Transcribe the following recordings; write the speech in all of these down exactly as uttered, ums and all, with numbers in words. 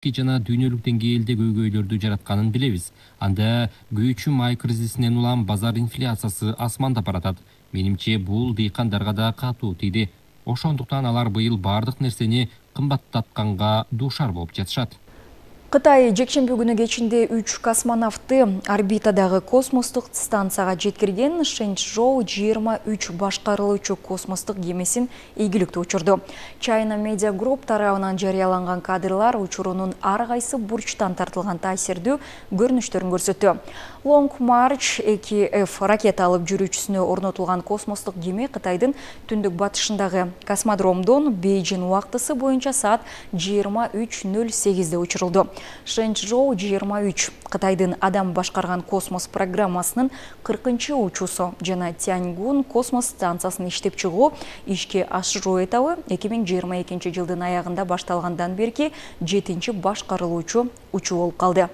жана дүйнөлүк деңгээлде көйгөйлөрдү жаратканын билебиз. Анда күйүүчү май кризисинен улам базар инфляциясы асмандап баратат. Менимче бул дыйкандарга да катуу тийди. Ошондуктан алар быйыл бардык нерсени кымбаттатканга дуушар болуп жатышат. Кытай жекшемби күнү кечинде үч космонавтты орбитадагы космостук станцияга жеткирген Шэньчжоу жыйырма үч башкарылуучу космостук кемесин ийгиликтүү учурду. China Media Group тарабынан жарыяланган кадрлар учурунун ар кайсы бурчтан тартылган таасирдүү көрүнүштөрүн көрсөттү. Long March эки эф ракеталык жүрүүчүсүнө орнотулган космостук кеме Кытайдын түндүк батышындагы космодромдон Бейжин убактысы боюнча саат жыйырма үч ноль сегизде учурулду. Шэньчжоу жыйырма үч Кытайдын адам башкарган космос программасынын кыркынчы учуусу жана Тяньгун космос станциясын иштеп чыгуу ишке ашыруу этабы эки миң жыйырма экинчи жылдын аягында башталгандан берки жетинчи башкарылуучу учуу болуп калды.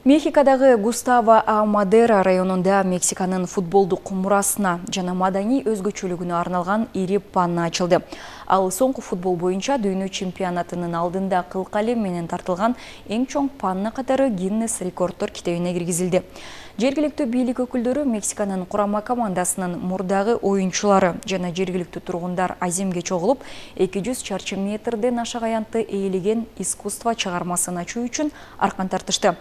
Мехикодагы Густаво А. Мадера районунда Мексиканын футболдук мурасына жана маданий өзгөчөлүгүнө арналган ири панна ачылды. Ал соңку футбол боюнча дүйнө чемпионатынын алдында кылкалем менен тартылган эң чоң панна катары Гиннес рекорддор китебине киргизилди. Жергиликтүү бийлик өкүлдөрү Мексиканын курама командасынын мурдагы оюнчулары жана жергиликтүү тургундар аземге чогулуп, эки жүз чарчы метрден ашык аянтты ээлеген искусство чыгармасын ачуу үчүн аркан тартышты.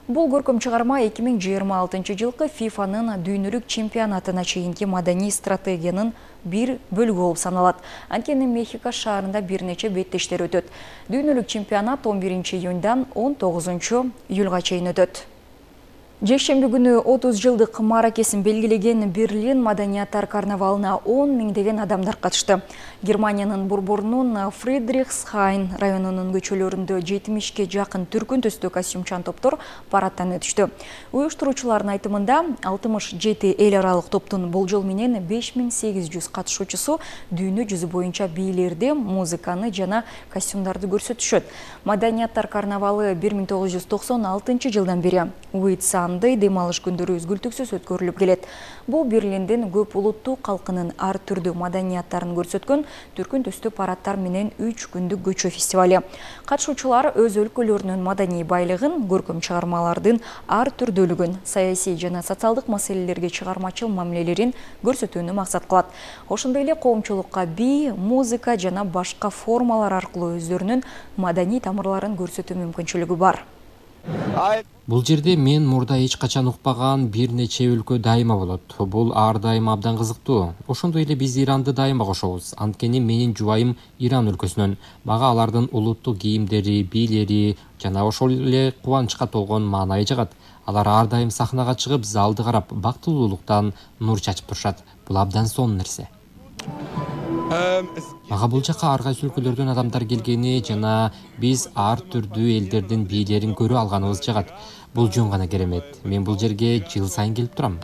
Бул көркөм чыгарма эки миң жыйырма алтынчы жылкы фифанын дүйнөлүк чемпионатына чейинки маданий стратегиянын бир бөлүгү болуп саналат. Анткени Мехико шаарында бир нече беттештер өтөт. Дүйнөлүк чемпионат он биринчи июндан он тогузунчу июлга чейин өтөт. Жекшемби күнү отуз жылдык маракесин белгилеген Берлин маданияттар карнавалына он миңдеген адамдар катышты. Германиянын Бурборнун Фридрихсхайн районунун көчөлөрүндө жетимишке жакын түркүн түстүү костюмчан топтор парадтан өтүштү. Уюштуруучулардын айтымында алтымыш жети эл аралык топтун болжол менен беш миң сегиз жүз катышуучусу дүйнө жүзү боюнча бийлерди, музыканы жана костюмдарды көрсөтүшөт. Маданияттар карнавалы бир миң тогуз жүз токсон алтынчы жылдан бери Уитсан дем алыш күндөрү үзгүлтүксүз өткөрүлүп келет. Бул Берлиндин көп улуттуу калкынын ар түрдүү маданияттарын көрсөткөн түркүн түстүү парадтар менен үч күндүк көчө фестивале. Катышуучулар өз өлкөлөрүнүн маданий байлыгын, көркөм чыгармалардын ар түрдүүлүгүн, саясий жана социалдык маселелерге чыгармачыл мамилелерин көрсөтүүнү максат кылат. Ошондой эле коомчулукка бий, музыка жана башка формалар аркылуу өздөрүнүн маданий тамырларын көрсөтүү мүмкүнчүлүгү бар. Бул жерде мен мурда эч качан укпаган бир нече өлкө дайыма болот. Бул ар дайым абдан кызыктуу. Ошондой эле биз Иранды дайыма кошобуз. Анткени менин жубайым Иран өлкөсүнөн. Мага алардын улуттук кийимдери, бийлери жана ошол эле кубанычка толгон маанайы жагат. Алар ар дайым сахнага чыгып, залды карап, бактылуулуктан нур чачып турушат. Бул абдан сонун нерсе. Мага бул жака ар кайсы өлкөлөрдөн адамдар келгени жана биз ар түрдүү элдердин бийлерин көрүп алганыбыз жагат. Бул жөн гана керемет. Мен бул жерге жыл сайын келип турам.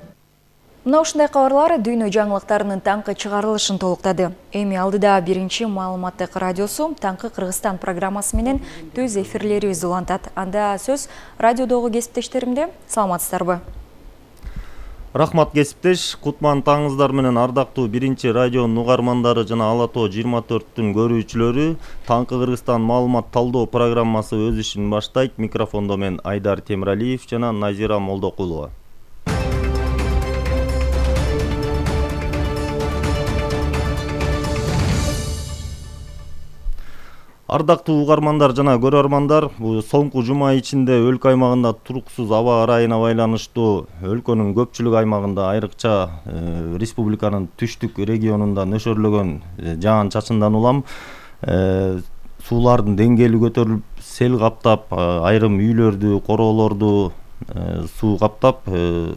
Мына ушундай кабарлар дүйнө жаңылыктарынын таңкы чыгарылышын толуктады. Эми алдыда биринчи маалыматтык радиосу Таңкы Кыргызстан программасы менен түз эфирлерибиз улантат. Анда сөз радиодогу кесиптештеримде. Саламатсыздарбы? Рахмат кесиптеш, кутман таңыңыздар менен ардактуу биринчи радионун угармандары жана Ала Тоо жыйырма төрттүн көрүүчүлөрү. Таңкы Кыргызстан маалымат талдоо программасы өз ишин баштайт. Микрофондо мен Айдар Темиралиев жана Назира Молдокулова. Ардактуу угармандар жана көрөрмандар, бул соңку жума ичинде өлкө аймагында туруксуз аба ырайына байланыштуу өлкөнүн көпчүлүк аймагында, айрыкча э, республиканын түштүк регионунда нөшөрлөгөн э, жаан чачындан улам э, суулардын деңгээли көтөрүлүп, сел каптап, айрым үйлөрдү, короолорду э, суу каптап, э,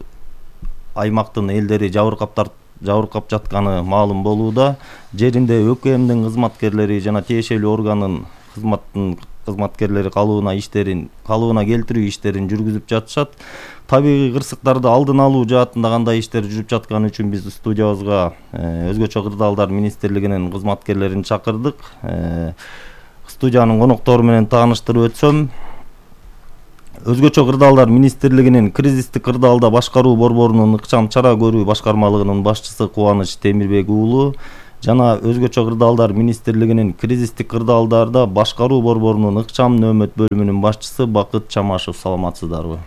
аймактын элдери жабыркап тартып жабыркап жатканы маалым болууда. Жеринде ӨКМдин кызматкерлери жана тиешелүү органын кызматтын кызматкерлери калыбына иштерин, калыбына келтирүү иштерин жүргүзүп жатышат. Табигый кырсыктарды алдын алуу жаатында кандай иштер жүрүп жатканы үчүн биз студиябызга өзгөчө кырдаалдар министрлигинин кызматкерлерин чакырдык. Студиянын коноктору менен тааныштырып өтсөм, Өзгөчө кырдаалдар министрлигинин кризистик кырдаалда башкаруу борборунун ыкчам чара көрүү башкармалыгынын башчысы Кубаныч Темирбек уулу жана өзгөчө кырдаалдар министрлигинин кризистик кырдаалдарда башкаруу борборунун ыкчам нөөмөт бөлүмүнүн башчысы Бакыт Чамашев. Саламатсыздарбы?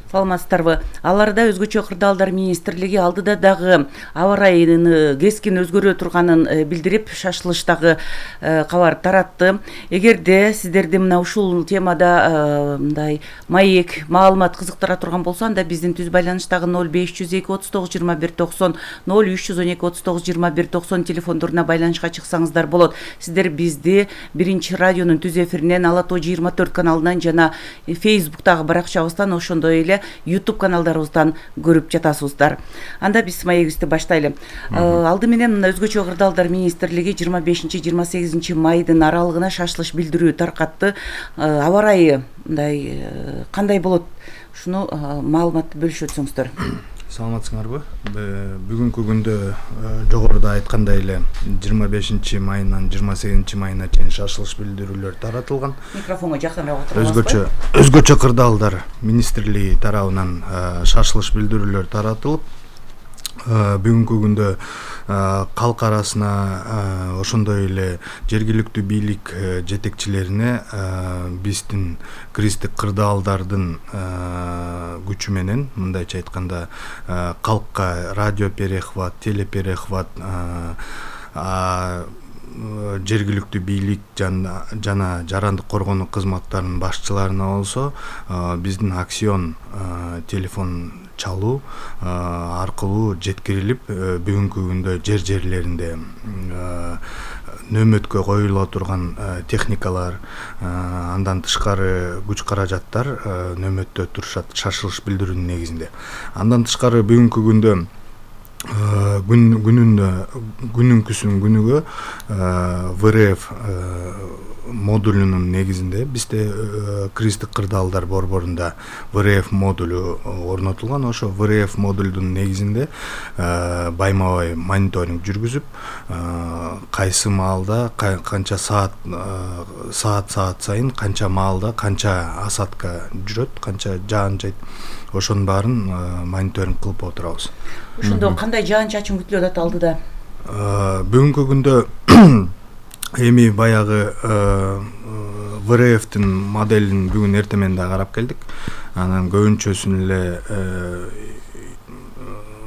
Саламатсыздарбы. Аларда өзгөчө кырдаалдар министрлиги алдыда дагы аба ырайынын кескин өзгөрө турганын билдирип, шашылыштагы кабар таратты. Эгерде сиздерди мына ушул темада мындай маек, маалымат кызыктыра турган болсо, анда биздин түз байланыштагы ноль беш жүз эки отуз тогуз жыйырма бир токсон, ноль үч жүз он эки отуз тогуз жыйырма бир токсон телефондоруна байланышка чыксаңыздар болот. Сиздер бизди биринчи радионун түз эфиринен, Ала тоо жыйырма төрт каналынан жана Facebook'тагы баракчабыздан, ошондой эле YouTube каналдарыбыздан көрүп жатасыздар. Анда биз маегибизди баштайлы. Алды менен мына өзгөчө кырдаалдар министрлиги жыйырма бешинчи жыйырма сегизинчи майдын аралыгына шашылыш билдирүү таркатты. Аба ырайы мындай кандай болот? Ушуну маалыматты бөлүшүп өтсөңүздөр. Саламатсыңарбы? Бүгүнкү күндө жогоруда айткандай эле жыйырма бешинчи майынан жыйырма сегизинчи майына чейин шашылыш билдирүүлөр таратылган. Микрофонго жакыныраак отуруңуздар. Өзгөчө өзгөчө кырдаалдар министрлиги тарабынан шашылыш билдирүүлөр таратылып, бүгүнкү күндө калк арасына, ошондой эле жергиликтүү бийлик жетекчилерине биздин кристик кырдаалдардын күчү менен, мындайча айтканда, калкка радио перехват, телеперехват, жергиликтүү бийлик жана жарандык коргонуу кызматтарынын башчыларына болсо биздин акцион телефон чалуу аркылуу жеткирилип, бүгүнкү күндө жер жерлеринде нөөмөткө коюла турган техникалар, андан тышкары күч каражаттар нөөмөттө турушат шашылыш билдирүүнүн негизинде. Андан тышкары бүгүнкү күндө күнүндө күнүнкүсүн күнүгө вэ эр эф модулунун негизинде бизде кристик кырдаалдар борборунда вэ эр эф модулу орнотулган. Ошо вэ эр эф модулдун негизинде байма-бай мониторинг жүргүзүп, кайсы маалда канча саат саат саат сайын канча маалда канча осадка жүрөт, канча жаан жайт, ошонун баарын мониторинг кылып отырабыз. Ошондо кандай жаан-чачын күтүлүп атат алдыда? Бүгүнкү күндө эми баягы вэ эр эфтин моделин бүгүн эртең да карап келдик. Анан көбүнчөсүн эле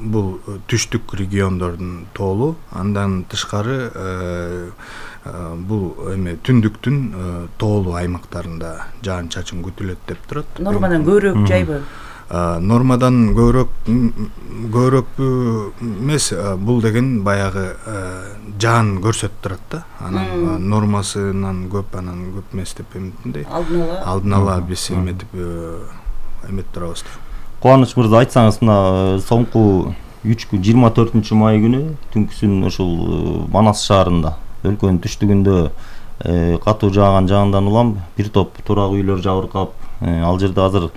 бул түштүк региондордун тоолу, андан тышкары бул эме түндүктүн тоолу аймактарында жаан-чачын күтүлөт деп турат. Нормадан көбүрөөк жайбы? Нормадан көбүрөөк көбүрөөк эмес, бул деген баягы жаан көрсөтүп турат да. Анан нормасынан көп, анан көп эмес деп эметиндей. Алдын ала. Алдын ала биз эметип эметип турабыз. Кубаныч мырза, айтсаңыз, мына соңку үч күн жыйырма төртүнчү май күнү түнкүсүн ушул Манас шаарында, өлкөнүн түштүгүндө катуу жааган жаандан улам бир топ турак үйлөр жабыркап, ал жерде азыр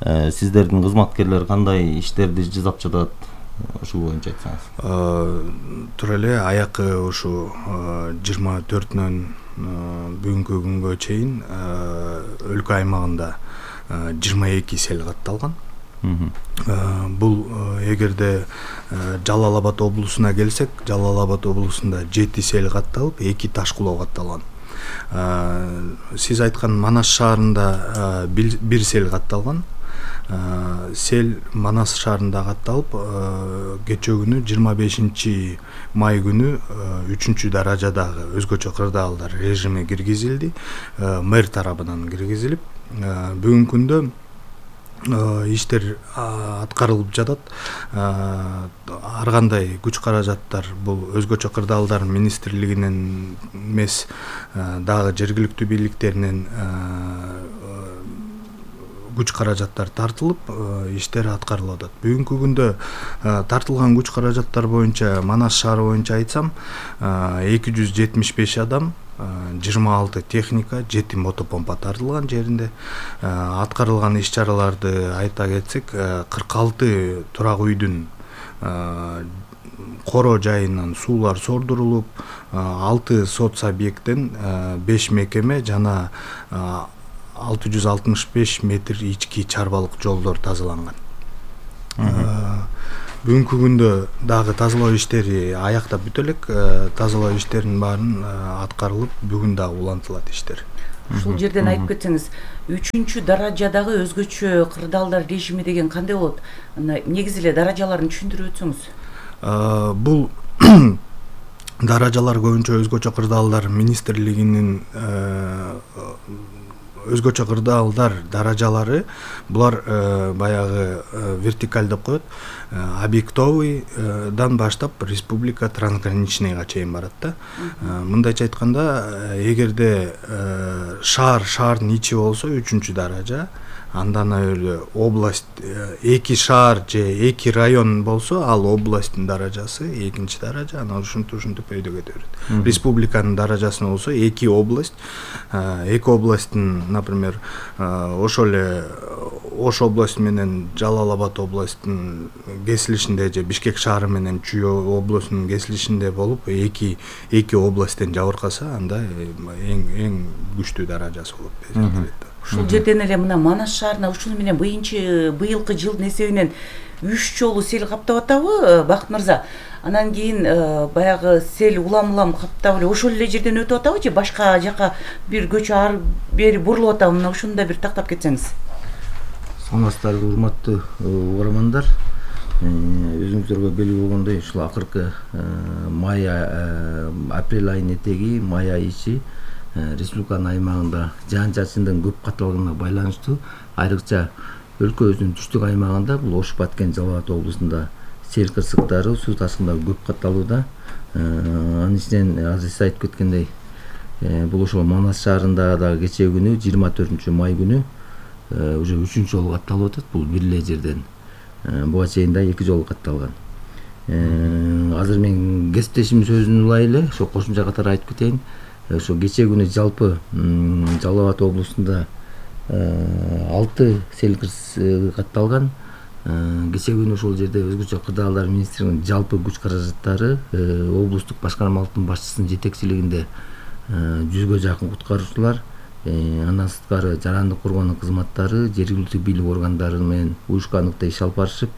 сиздердин кызматкерлер кандай иштерди жасап жатат? Ушул боюнча айтсаңыз. Тура эле аякы ушу жыйырма төртүнөн бүгүнкү күнгө чейин өлкө аймагында жыйырма эки сел катталган. Бул эгерде Жалал Абад облусуна келсек, Жалал Абад облусунда жети сел катталып, эки таш кулоо катталган. Сиз айткан Манас шаарында бир сел катталган. Сел Манас шаарында катталып, кечээ күнү жыйырма бешинчи май күнү үчүнчү даражадагы өзгөчө кырдаалдар режиме киргизилди, мэр тарабынан киргизилип, бүгүнкү күндө иштер аткарылып жатат. Ар кандай күч каражаттар бул өзгөчө кырдаалдар министрлигинен эмес, дагы жергиликтүү бийликтеринен күч каражаттар тартылып, иштер аткарылып атат. Бүгүнкү күндө тартылган күч каражаттар боюнча, Манас шаары боюнча айтсам, эки жүз жетимиш беш адам, жыйырма алты техника, жети мотопомпа тартылган жеринде. Аткарылган иш-чараларды айта кетсек, кырк алты турак үйдүн коро жайынан суулар сордурулуп, алты соц объекттен беш мекеме жана алты жүз алтымыш беш метр ички чарбалык жолдор тазаланган. Бүгүнкү күндө дагы тазалоо иштери аяктап бүтө элек. Тазалоо иштеринин баарын аткарылып, бүгүн дагы улантылат иштер. Ушул жерден айтып кетсеңиз, үчүнчү даражадагы өзгөчө кырдаалдар режими деген кандай болот? Негизи эле даражаларын түшүндүрүп өтсөңүз. Бул даражалар көбүнчө өзгөчө кырдаалдар министрлигинин өзгөчө кырдаалдар даражалары, булар баягы вертикаль деп коет, объектовыйдан баштап республика трансграничныйга чейин барат да. Мындайча айтканда, эгерде шаар шаардын ичи болсо үчүнчү даража, андан ары область эки шаар же эки район болсо, ал областтын даражасы экинчи даража, анан ушинтип ушинтип өйдө кете берет. Республиканын даражасы болсо эки область, эки областтын, например, ошол эле Ош областы менен Жалал Абад областтын кесилишинде же Бишкек шаары менен Чүй областынын кесилишинде болуп, эки эки областтен жабыркаса, анда эң эң күчтүү даражасы болуп эсептелет. Ушул жерден эле мына Манас шаарына ушуну менен быйынчы быйылкы жылдын эсебинен үч жолу сел каптап атабы, Бакыт мырза? Анан кийин баягы сел улам-улам каптап эле ошол эле жерден өтүп атабы же башка жака бир көчө ары бери бурулуп атабы? Мына ушуну да бир тактап кетсеңиз. Саламатсыздарбы, урматтуу угармандар. Өзүңүздөргө белгилүү болгондой, ушул акыркы май апрель айынын этеги, май айы ичи республиканын аймагында жаан-чачындын көп катталганына байланыштуу, айрыкча өлкөбүздүн түштүк аймагында, бул Ош, Баткен, Жалал Абад облусунда сел кырсыктары, суу ташкындары көп катталууда. Анын ичинен азыр сиз айтып кеткендей, бул ошол Манас шаарында дагы кечээ күнү жыйырма төртүнчү май күнү уже үчүнчү жолу катталып атат. Бул бир эле жерден буга чейин да эки жолу катталган. Азыр мен кесиптешимдин сөзүн улай эле ошо кошумча катары айтып кетейин. Ошо кечээ күнү жалпы Жалал Абад облусунда алты сел кырсыгы катталган. Кечээ күнү ошол жерде өзгөчө кырдаалдар министрлигинин жалпы күч каражаттары, облустук башкармалыктын башчысынын жетекчилигинде жүзгө жакын куткаруучулар, андан сырткары жарандык коргоонун кызматтары, жергиликтүү бийлик органдары менен уюшкандыкта иш алып барышып,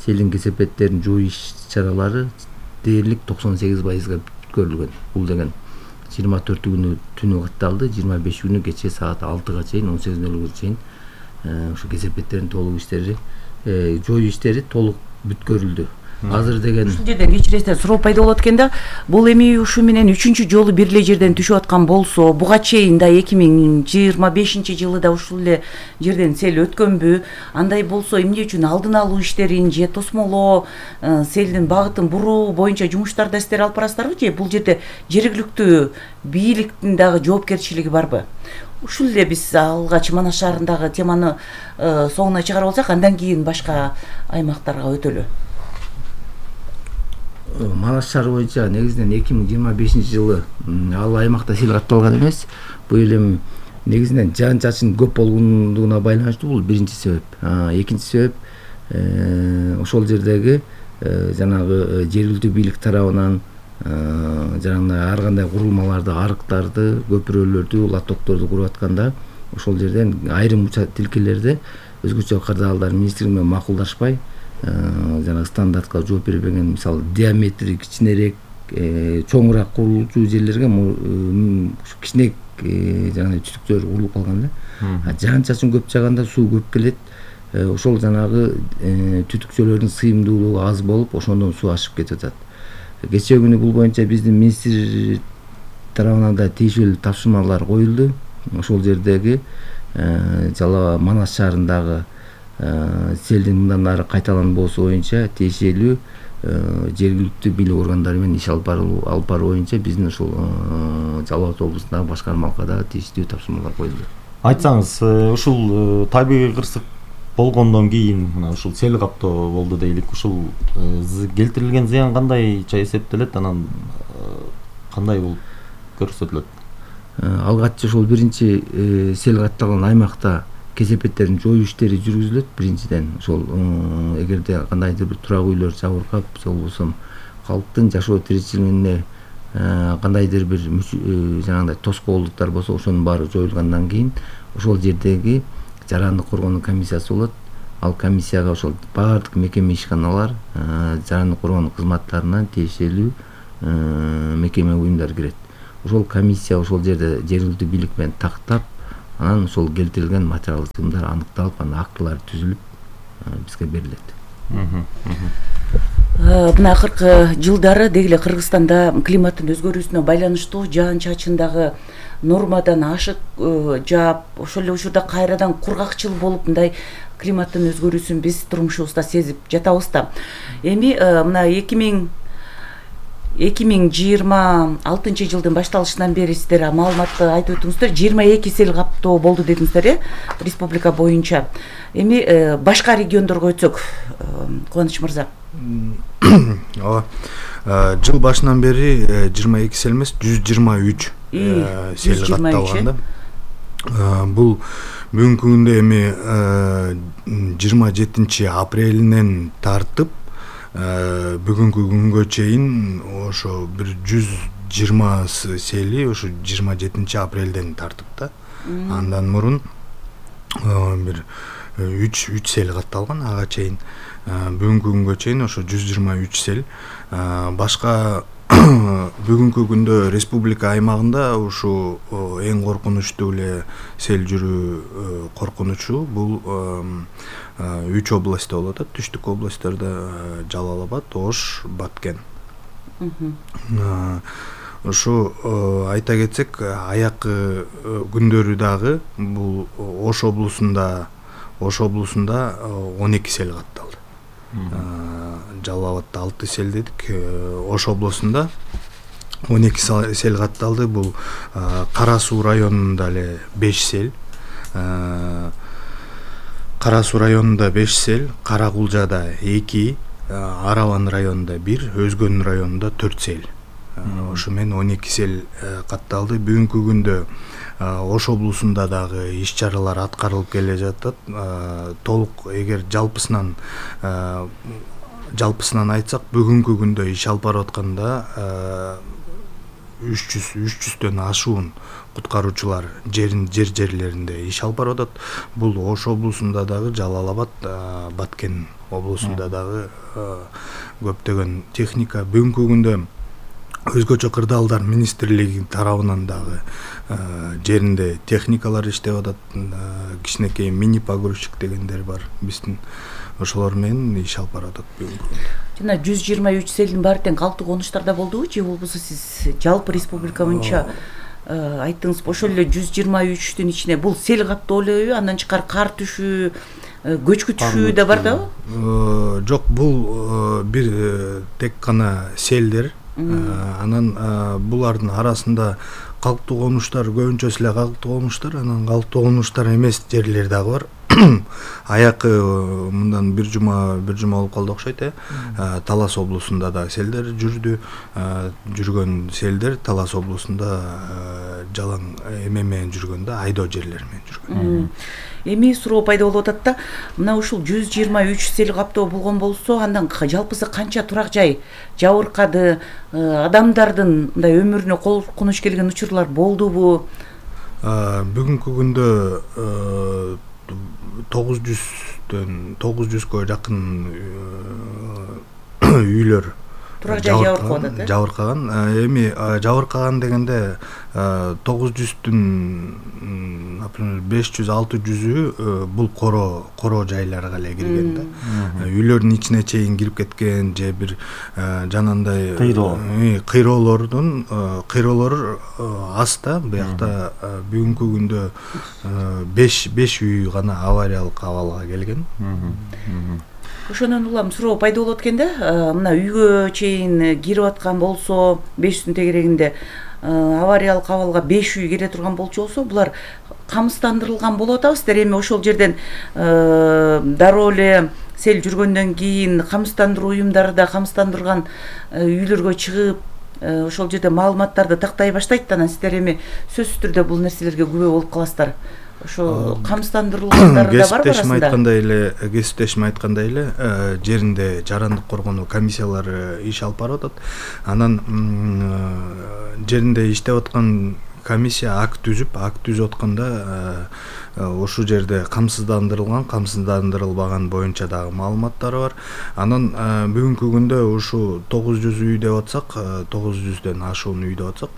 селдин кесепеттерин жою иш-чаралары дээрлик токсон сегиз пайызга бүткөрүлгөн. Бул деген жыйырма төртү күнү түнү катталды, жыйырма беш күнү кечээ саат алтыга чейин, он сегиз нөл нөлгө чейин ошо кесепеттердин толук иштери, жою иштери толук бүткөрүлдү. Азыр деген ушул жерден кечиресиздер, суроо пайда болот экен да. Бул эми ушу менен үчүнчү жолу бир эле жерден түшүп аткан болсо, буга чейин да эки миң жыйырма бешинчи жылы да ушул эле жерден сел өткөнбү? Андай болсо, эмне үчүн алдын алуу иштерин же тосмолоо, селдин багытын буруу боюнча жумуштарды сиздер алып барасыздарбы же бул жерде жергиликтүү бийликтин дагы жоопкерчилиги барбы? Ушул эле биз алгач Манас шаарындагы теманы соңуна чыгарып алсак, андан кийин башка аймактарга өтөлү. Манас шаары боюнча негизинен эки миң жыйырма бешинчи жылы ал аймакта сел катталган эмес. Бул эми негизинен жаан-чачын көп болгондугуна байланыштуу. Бул биринчи себеп. Экинчи себеп ошол жердеги жанагы жергиликтүү бийлик тарабынан жанагы ар кандай курулмаларды, арыктарды, көпүрөлөрдү, латтокторду куруп атканда, ошол жерден айрым тилкелерде өзгөчө кырдаалдар министрлиги менен макулдашпай, жана стандартка жооп бербеген, мисалы диаметри кичинерээк, чоңураак курулуучу жерлерге кичине жана түтүктөр курулуп калган да. Жаан-чачын көп жааганда суу көп келет. Ошол жанагы түтүкчөлөрдүн сыйымдуулугу аз болуп, ошондон суу ашып кетип атат. Кечээ күнү бул боюнча биздин министр тарабынан да тийиштүү тапшырмалар коюлду. Ошол жердеги Жалал Манас шаарындагы селдин мындан ары кайталанбоосу боюнча тиешелүү жергиликтүү бийлик органдары менен иш алып баруу боюнча биздин ушул Жалал Абад облусундагы башкармалыкка дагы тийиштүү тапшырмалар коюлду. Айтсаңыз, ушул табигый кырсык болгондон кийин мына ушул сел каптоо болду дейлик. Ушул келтирилген зыян кандайча эсептелет, анан кандай болуп көрсөтүлөт? Алгаччы ошол биринчи сел катталган аймакта кесепеттерин жою иштери жүргүзүлөт. Биринчиден ошол эгерде кандайдыр бир турак үйлөр жабыркап, же болбосо калктын жашоо тиричилигине кандайдыр бир жанагындай тоскоолдуктар болсо, ошонун баары жоюлгандан кийин ошол жердеги жарандык коргоонун комиссиясы болот. ал комиссияга ошол баардык мекеме ишканалар, жарандык коргоонуу кызматтарынан тиешелүү мекеме уюмдар кирет. Ошол комиссия ошол жерде жергиликтүү бийлик менен тактап, анан ошол келтирилген материалдык чыгымдар аныкталып, анан актылар түзүлүп бизге берилет. Мына акыркы жылдары деги эле Кыргызстанда климаттын өзгөрүүсүнө байланыштуу жаан чачын дагы нормадан ашык жаап, ошол эле учурда кайрадан кургакчыл болуп, мындай климаттын өзгөрүүсүн биз турмушубузда сезип жатабыз да. Эми мына эки миң жыйырма алтынчы жылдын башталышынан бери сиздер маалыматты айтып өттүңүздөр, жыйырма эки сел каптоо болду дедиңиздер, э, республика боюнча. Эми башка региондорго өтсөк, Кубаныч мырза. Ооба. Жыл башынан бери жыйырма эки сел эмес, жүз жыйырма үч сел катталган да. Бул бүгүнкү күндө эми жыйырма жетинчи апрелинен тартып бүгүнкү күнгө чейин ошо бир жүз жыйырма сели ошо жыйырма жетинчи апрелден тартып да. Андан мурун бир үч үч сел катталган, ага чейин бүгүнкү күнгө чейин ошо жүз жыйырма үч сел. Башка бүгүнкү күндө республика аймагында ушу эң коркунучтуу эле сел жүрүү коркунучу бул үч областта болуп атат. Түштүк областарда Жалал Абад, Ош, Баткен. Ушу айта кетсек, аякы күндөрү дагы бул Ош облусунда Ош облусунда он эки сел катталды. Жалал Абадда алты сел дедик, Ош облусунда он эки сел катталды. Бул Кара Суу районунда эле беш сел, Кара Суу районунда беш сел, Кара Кулжада эки, Араван районунда бир, Өзгөн районунда төрт сел. Ошо менен он эки сел катталды. Бүгүнкү күндө Ош облусунда дагы иш чаралар аткарылып келе жатат. Толук эгер жалпысынан жалпысынан айтсак, бүгүнкү күндө иш алып барып атканда үч жүз үч жүздөн ашуун куткаруучулар жерин жер жерлеринде иш алып барып атат. Бул Ош облусунда дагы, Жалал Абад, Баткен облусунда дагы көптөгөн техника. Бүгүнкү күндө өзгөчө кырдаалдар министрлиги тарабынан дагы жеринде техникалар иштеп атат. Кичинекей мини погрузчик дегендер бар биздин. Ошолор менен иш алып барып атат бүгүнкү күндө. Жана жүз жыйырма үч селдин баары тең калктуу конуштарда болдубу же болбосо сиз жалпы республика боюнча айттыңыз? Ошол эле жүз жыйырма үчтүн ичине бул сел каптоо элеби? Андан тышкары кар түшүү, көчкү түшүү да бар дабы? Жок, бул бир тек гана селдер. Анан булардын арасында калктуу конуштар, көбүнчөсү эле калктуу конуштар, анан калктуу конуштар эмес жерлер дагы бар. Аякы мындан бир жума бир жума болуп калды окшойт, э. Талас облусунда да селдер жүрдү. Жүргөн селдер Талас облусунда жалаң эме менен жүргөн да, айдоо жерлери менен жүргөн. Эми суроо пайда болуп атат да, мына ушул жүз жыйырма үч сел каптоо болгон болсо, андан жалпысы канча турак жай жабыркады, адамдардын мындай өмүрүнө коркунуч келген учурлар болдубу? Бүгүнкү күндө тогуз жүздөн тогуз жүзгө жакын үйлөр турак жай жабыркап атат. Жабыркаган. Эми жабыркаган дегенде тогуз жүздүн например беш жүз алты жүзү бул коро коро жайларга эле кирген да. Үйлөрдүн ичине чейин кирип кеткен же бир жанагындай кыйроолордун кыйроолор аз да. Буякта бүгүнкү күндө беш беш үй гана авариялык абалга келген. Ошондон улам суроо пайда болот экен да, мына үйгө чейин кирип аткан болсо, беш жүздүн тегерегинде авариялык абалга беш үй кире турган болчу болсо, булар камсыздандырылган болуп атабыздар. Эми ошол жерден дароо эле сел жүргөндөн кийин камсыздандыруу уюмдары да камсыздандырган үйлөргө чыгып, ошол жерде маалыматтарды тактай баштайт да. Анан сиздер эми сөзсүз түрдө бул нерселерге күбө болуп каласыздар. Ошо камсыздандырылгандар да бар арасында. Айткандай эле, кесиптешим айткандай эле, жеринде жарандык коргонуу комиссиялары иш алып барып атат. Анан жеринде иштеп аткан комиссия акт түзүп акт түзүп атканда ошол жерде камсыздандырылган камсыздандырылбаган боюнча дагы маалыматтар бар. Анан бүгүнкү күндө ушу тогуз жүз үй деп атсак, тогуз жүздөн ашуун үй деп атсак,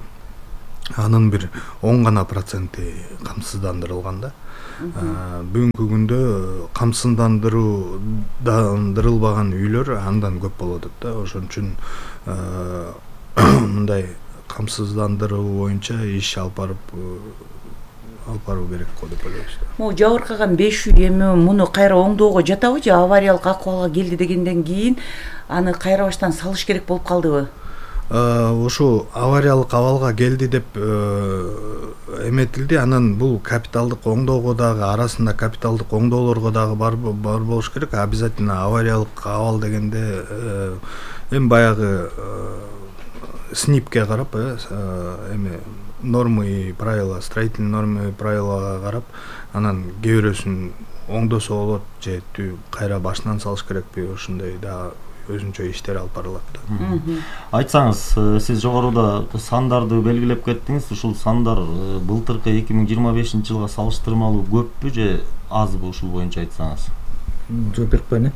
анын бир он гана проценти камсыздандырылган да. Бүгүнкү күндө камсыздандырылбаган үйлөр андан көп болуп атат да. Ошон үчүн мындай камсыздандыруу боюнча иш алып барып алып баруу керек го деп ойлойбуз. Могу жабыркаган беш үй эми муну кайра оңдоого жатабы же авариялык акыбалга келди дегенден кийин аны кайра баштан салыш керек болуп калдыбы? Ошо авариялык абалга келди деп эметилди. Анан бул капиталдык оңдоого дагы арасында капиталдык оңдоолорго дагы бар бар болуш керек. Обязательно авариялык абал дегенде эми баягы СНИПке карап, эми нормы и правила, строительный нормы и правилага карап, анан кээ бирөөсүн оңдосо болот же кайра башынан салыш керекпи, ошондой дагы өзүнчө иштер алып барылат да. Айтсаңыз, сиз жогоруда сандарды белгилеп кеттиңиз. Ушул сандар былтыркы эки миң жыйырма бешинчи жылга салыштырмалуу көппү же азбы, ушул боюнча айтсаңыз? Жооп берип коеюн.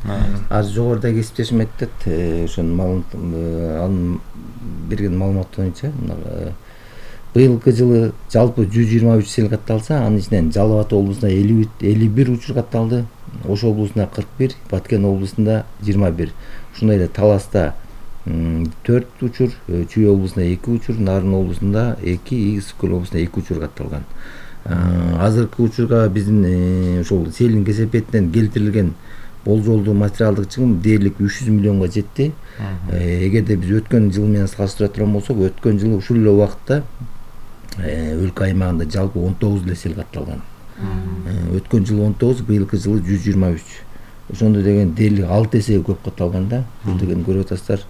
Азыр жогоруда кесиптешим айтат, ошонун анын берген маалыматы боюнча быйылкы жылы жалпы жүз жыйырма үч сел катталса, анын ичинен Жалал Абад облусунда элүү бир учур катталды, Ош облусунда кырк бир, Баткен облусунда жыйырма бир. Ушундай эле Таласта төрт учур, Чүй облусунда эки учур, Нарын облусунда эки, Игис Көл облусунда эки учур катталган. Азыркы учурга биздин ошол селдин кесепетинен келтирилген болжолдуу материалдык чыгым дээрлик үч жүз миллионго жетти. Эгерде биз өткөн жыл менен салыштыра турган болсок, өткөн жылы ушул эле убакытта өлкө аймагында жалпы он тогуз эле сел катталган. Өткөн жылы он тогуз, быйылкы жылы жүз жыйырма үч. Ошондо деген дээрлик алты эсе көп катталган да. Бул деген көрүп атасыздар,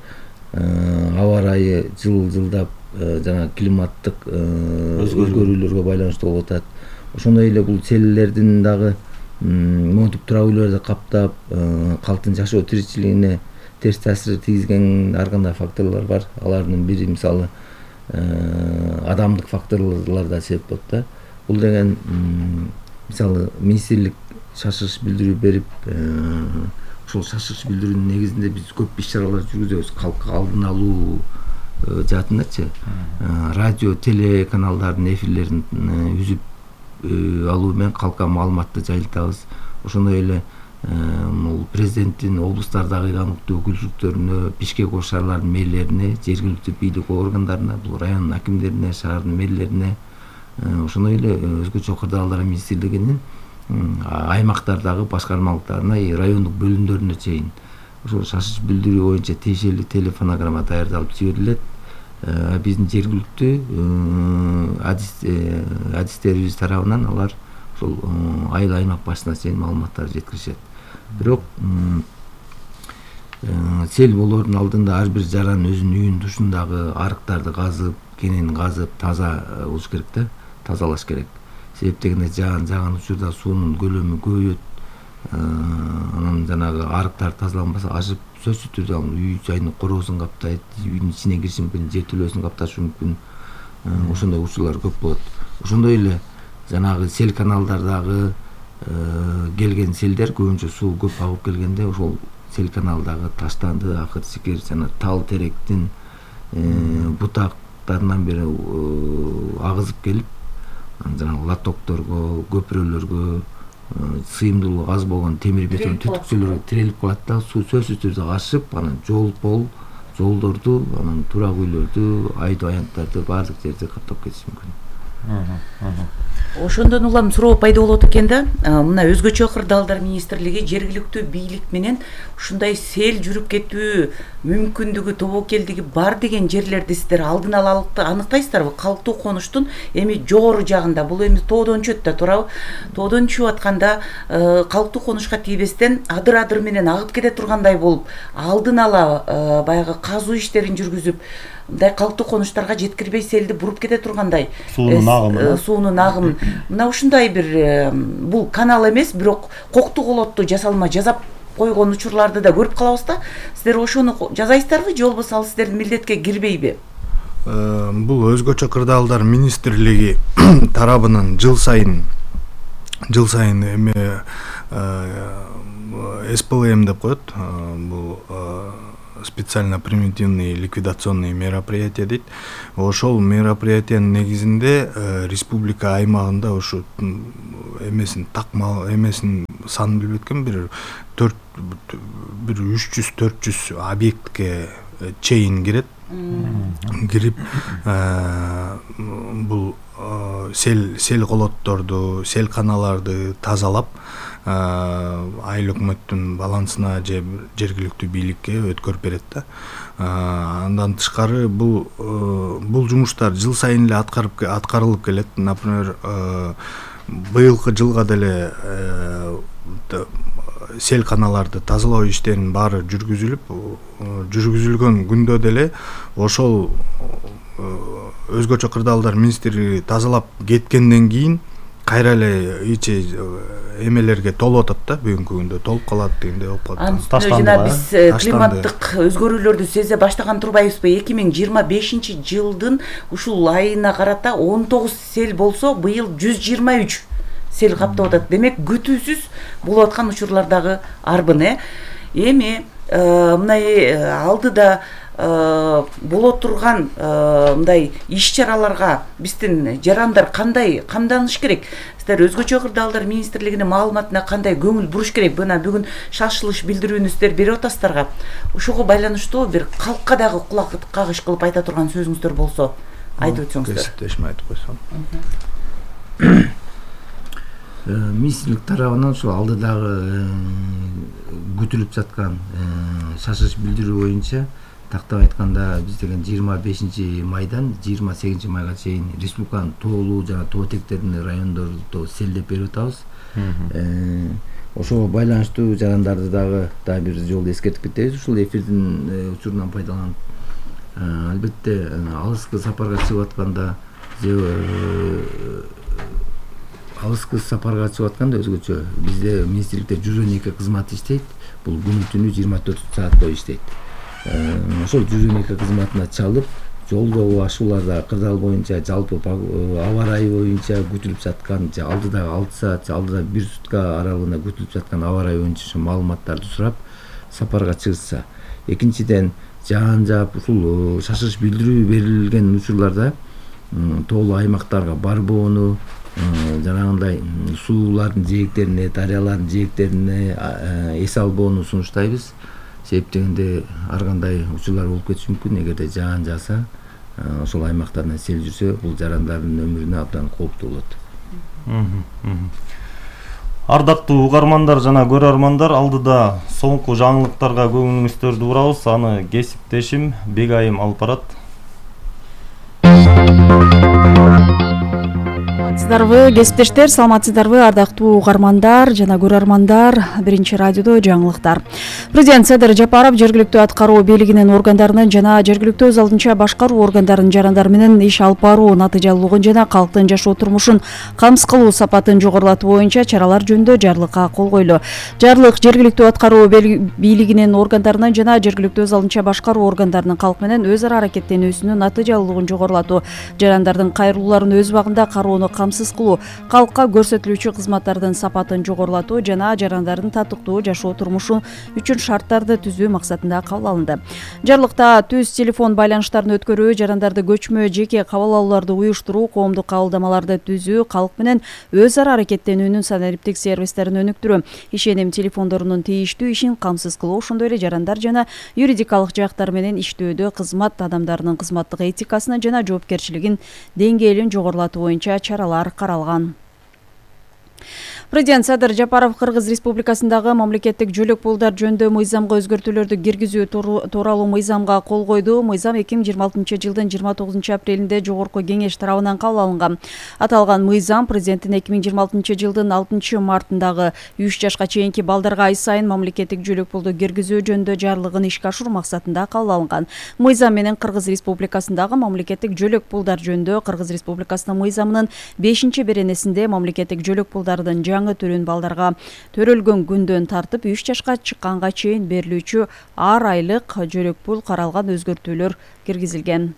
аба ырайы жыл жылдап жана климаттык өзгөрүүлөргө байланыштуу болуп атат. Ошондой эле бул селлердин дагы монтип турак үйлөрдү каптап, калктын жашоо тиричилигине терс таасир тийгизген ар кандай факторлор бар. Алардын бири мисалы адамдык факторлор да себеп болот да. Бул деген мисалы министрлик шашырыш билдирүү берип, ошол шашырыш билдирүүнүн негизинде биз көп иш-чаралар жүргүзөбүз. Калкка алдын алуу жаатындачы радио, телеканалдардын эфирлерин үзүп алуу менен калкка маалыматты жайылтабыз. Ошондой эле бул президенттин облустардагы ыйгануктуу өкүлчүлүктөрүнө, Бишкек ош шаарларынын мэрлерине, жергиликтүү бийлик органдарына, бул райондун акимдерине, шаардын мэрлерине, ошондой эле өзгөчө кырдаалдар министрлигинин аймактардагы башкармалыктарына, райондук бөлүмдөрүнө чейин ошол шашырыш билдирүү боюнча тиешелүү телефонограмма даярдалып жиберилет. Биздин жергиликтүү адистерибиз тарабынан алар ошол айыл аймак башына чейин маалыматтарды жеткиришет. Бирок сел болоордун алдында ар бир жаран өзүнүн үйүнүн тушундагы арыктарды казып, кенени казып, таза болуш керек да, тазалаш керек. Себеп дегенде жаан жааган учурда суунун көлөмү көбөйөт. Анан жанагы арыктар тазаланбаса, ашып сөзсүз түрдө үй жайдын короосун каптайт, үйдүн ичине кириши мүмкүн, жертөлөсүн капташы мүмкүн. Ошондой учурлар көп болот. Ошондой эле жанагы сел каналдардагы келген селдер көбүнчө суу көп агып келгенде ошол сел каналдагы таштанды, акыр сикер жана тал теректин бутактарынан бери агызып келип, жанагы лотокторго, көпүрөлөргө, сыйымдуулугу аз болгон темир бетон түтүкчөлөргө тирелип калат да, суу сөзсүз түрдө ашып, анан жол пол, жолдорду, анан турак үйлөрдү, айдоо аянттарды баардык жерди каптап кетиши мүмкүн. Ошондон улам суроо пайда болот экен да. Мына өзгөчө кырдаалдар министрлиги жергиликтүү бийлик менен ушундай сел жүрүп кетүү мүмкүндүгү, тобокелдиги бар деген жерлерди сиздер алдын ала аныктайсыздарбы? Калктуу конуштун эми жогору жагында, бул эми тоодон чөп да туурабы? Тоодон чүп атканда калктуу конушка тийбестен адыр-адыр менен агып кете тургандай болуп, алдын ала баягы казуу иштерин жүргүзүп, мындай калктуу конуштарга жеткирбей селди буруп кете тургандай суунун агымы суунун агымы мына ушундай бир бул канал эмес, бирок коктуу колотту жасалма жасап койгон учурларды да көрүп калабыз да. Сиздер ошону жасайсыздарбы же болбосо ал сиздердин милдетке кирбейби? бул өзгөчө кырдаалдар министрлиги тарабынан жыл сайын жыл сайын эме эс пэ эл эм деп коет. Бул специально примитивный ликвидационный мероприятие дейт. Ошол мероприятиянын негизинде республика аймагында ушу эмесин такмал эмесин санын билбей эткем, бир төрт бир үч жүз төрт жүз объектке чейин кирет. Кирип бул сел сел колотторду, сел каналарды тазалап айыл өкмөттүн балансына же жергиликтүү бийликке өткөрүп берет да. Андан тышкары бул бул жумуштар жыл сайын эле аткарып аткарылып келет. Например, быйылкы жылга деле сел каналарды тазалоо иштеринин баары жүргүзүлүп, жүргүзүлгөн күндө деле ошол өзгөчө кырдаалдар министрлиги тазалап кеткенден кийин кайра эле ичи эмелерге толуп атат да, бүгүнкү күндө толуп калат дегендей болуп калат. Анын үстүнө жана биз климаттык өзгөрүүлөрдү сезе баштаган турбайбызбы? эки миң жыйырма бешинчи жылдын ушул айына карата он тогуз сел болсо, быйыл жүз жыйырма үч сел каптап атат. Демек күтүүсүз болуп аткан учурлар дагы арбын. Э эми мындай алдыда боло турган мындай иш-чараларга биздин жарандар кандай камданыш керек? Сиздер өзгөчө кырдаалдар министрлигинин маалыматына кандай көңүл буруш керек? Мына бүгүн шашылыш билдирүүнүздөр берип атасыздарга. Ошого байланыштуу бир калкка дагы кулак кагыш кылып айта турган сөзүңүздөр болсо айтып өтсөңүздөр. Кесиптешим айтып койсом. Министрлик тарабынан ушул алдыдагы күтүлүп жаткан шашылыш билдирүү боюнча тактап айтканда биз деген жыйырма бешинчи майдан жыйырма сегизинчи майга чейин республиканын тоолуу жана тоо этектеринин райондорду селдеп берип атабыз. Ошого байланыштуу жарандарды дагы дагы бир жолу эскертип кетебиз. Ушул эфирдин учурунан пайдаланып, албетте алыскы сапарга чыгып атканда же алыскы сапарга чыгып атканда өзгөчө бизде министрликте жүз он эки кызмат иштейт. Бул күнү түнү жыйырма төрт саат бою иштейт. Ошол жүз он эки кызматына чалып, жолдогу ашууларда кырдаал боюнча жалпы аба ырайы боюнча күтүлүп жаткан, же алдыдагы алты саат, же алдыда бир сутка аралыгында күтүлүп жаткан аба ырайы боюнча маалыматтарды сурап сапарга чыгышса. Экинчиден, жаан жаап ушул шашылыш билдирүү берилген учурларда тоолуу аймактарга барбоону, жанагындай суулардын жээктерине, дарыялардын жээктерине эс албоону сунуштайбыз. Себеп дегенде ар кандай учурлар болуп кетиши мүмкүн. Эгерде жаан жааса, ошол аймактардан сел жүрсө, бул жарандардын өмүрүнө абдан кооптуу болот. Ардактуу угармандар жана көрөрмандар, алдыда соңку жаңылыктарга көңүлүңүздөрдү бурабыз. Аны кесиптешим Бегайым алып барат. Саламатсыздарбы, кесиптештер, саламатсыздарбы, ардактуу угармандар жана көрөрмандар. Биринчи радиодо жаңылыктар. Президент Садыр Жапаров жергиликтүү аткаруу бийлигинин органдарынын жана жергиликтүү өз алдынча башкаруу органдарынын жарандар менен иш алып баруу натыйжалуулугун жана калктын жашоо турмушун камсыз кылуу сапатын жогорулатуу боюнча чаралар жөнүндө жарлыкка кол койлу. Жарлык жергиликтүү аткаруу бийлигинин органдарынын жана жергиликтүү өз алдынча башкаруу органдарынын калк менен өз ара аракеттенүүсүнүн натыйжалуулугун жогорулатуу, жарандардын кайрылууларын өз убагында кароону камсыз кылуу, калкка көрсөтүлүүчү кызматтардын сапатын жогорулатуу жана жарандардын татыктуу жашоо турмушу үчүн шарттарды түзүү максатында кабыл алынды. Жарлыкта түз телефон байланыштарын өткөрүү, жарандарды көчмө жеке кабыл алууларды уюштуруу, коомдук кабылдамаларды түзүү, калк менен өз ара аракеттенүүнүн санариптик сервистерин өнүктүрүү, ишеним телефондорунун тийиштүү ишин камсыз кылуу, ошондой эле жарандар жана юридикалык жактар менен иштөөдө кызмат адамдарынын кызматтык этикасынын жана жоопкерчилигин деңгээлин жогорулатуу боюнча чаралар каралган. Президент Садыр Жапаров Кыргыз Республикасындагы мамлекеттик жөлөк пулдар жөнүндө мыйзамга өзгөртүүлөрдү киргизүү тууралуу мыйзамга кол койду. Мыйзам эки миң жыйырма алтынчы жылдын жыйырма тогузунчу апрелинде Жогорку кеңеш тарабынан кабыл алынган. Аталган мыйзам президенттин эки миң жыйырма алтынчы жылдын алтынчы мартындагы үч жашка чейинки балдарга ай сайын мамлекеттик жөлөк пулду киргизүү жөнүндө жарлыгын ишке ашыруу максатында кабыл алынган. Мыйзам менен Кыргыз Республикасындагы мамлекеттик жөлөк пулдар жөнүндө Кыргыз Республикасынын мыйзамынын бешинчи беренесинде мамлекеттик жөлөк пулдардын жаңы түрүн балдарга төрөлгөн күндөн тартып үч жашка чыкканга чейин берилүүчү ар айлык жөлөк пул каралган өзгөртүүлөр киргизилген.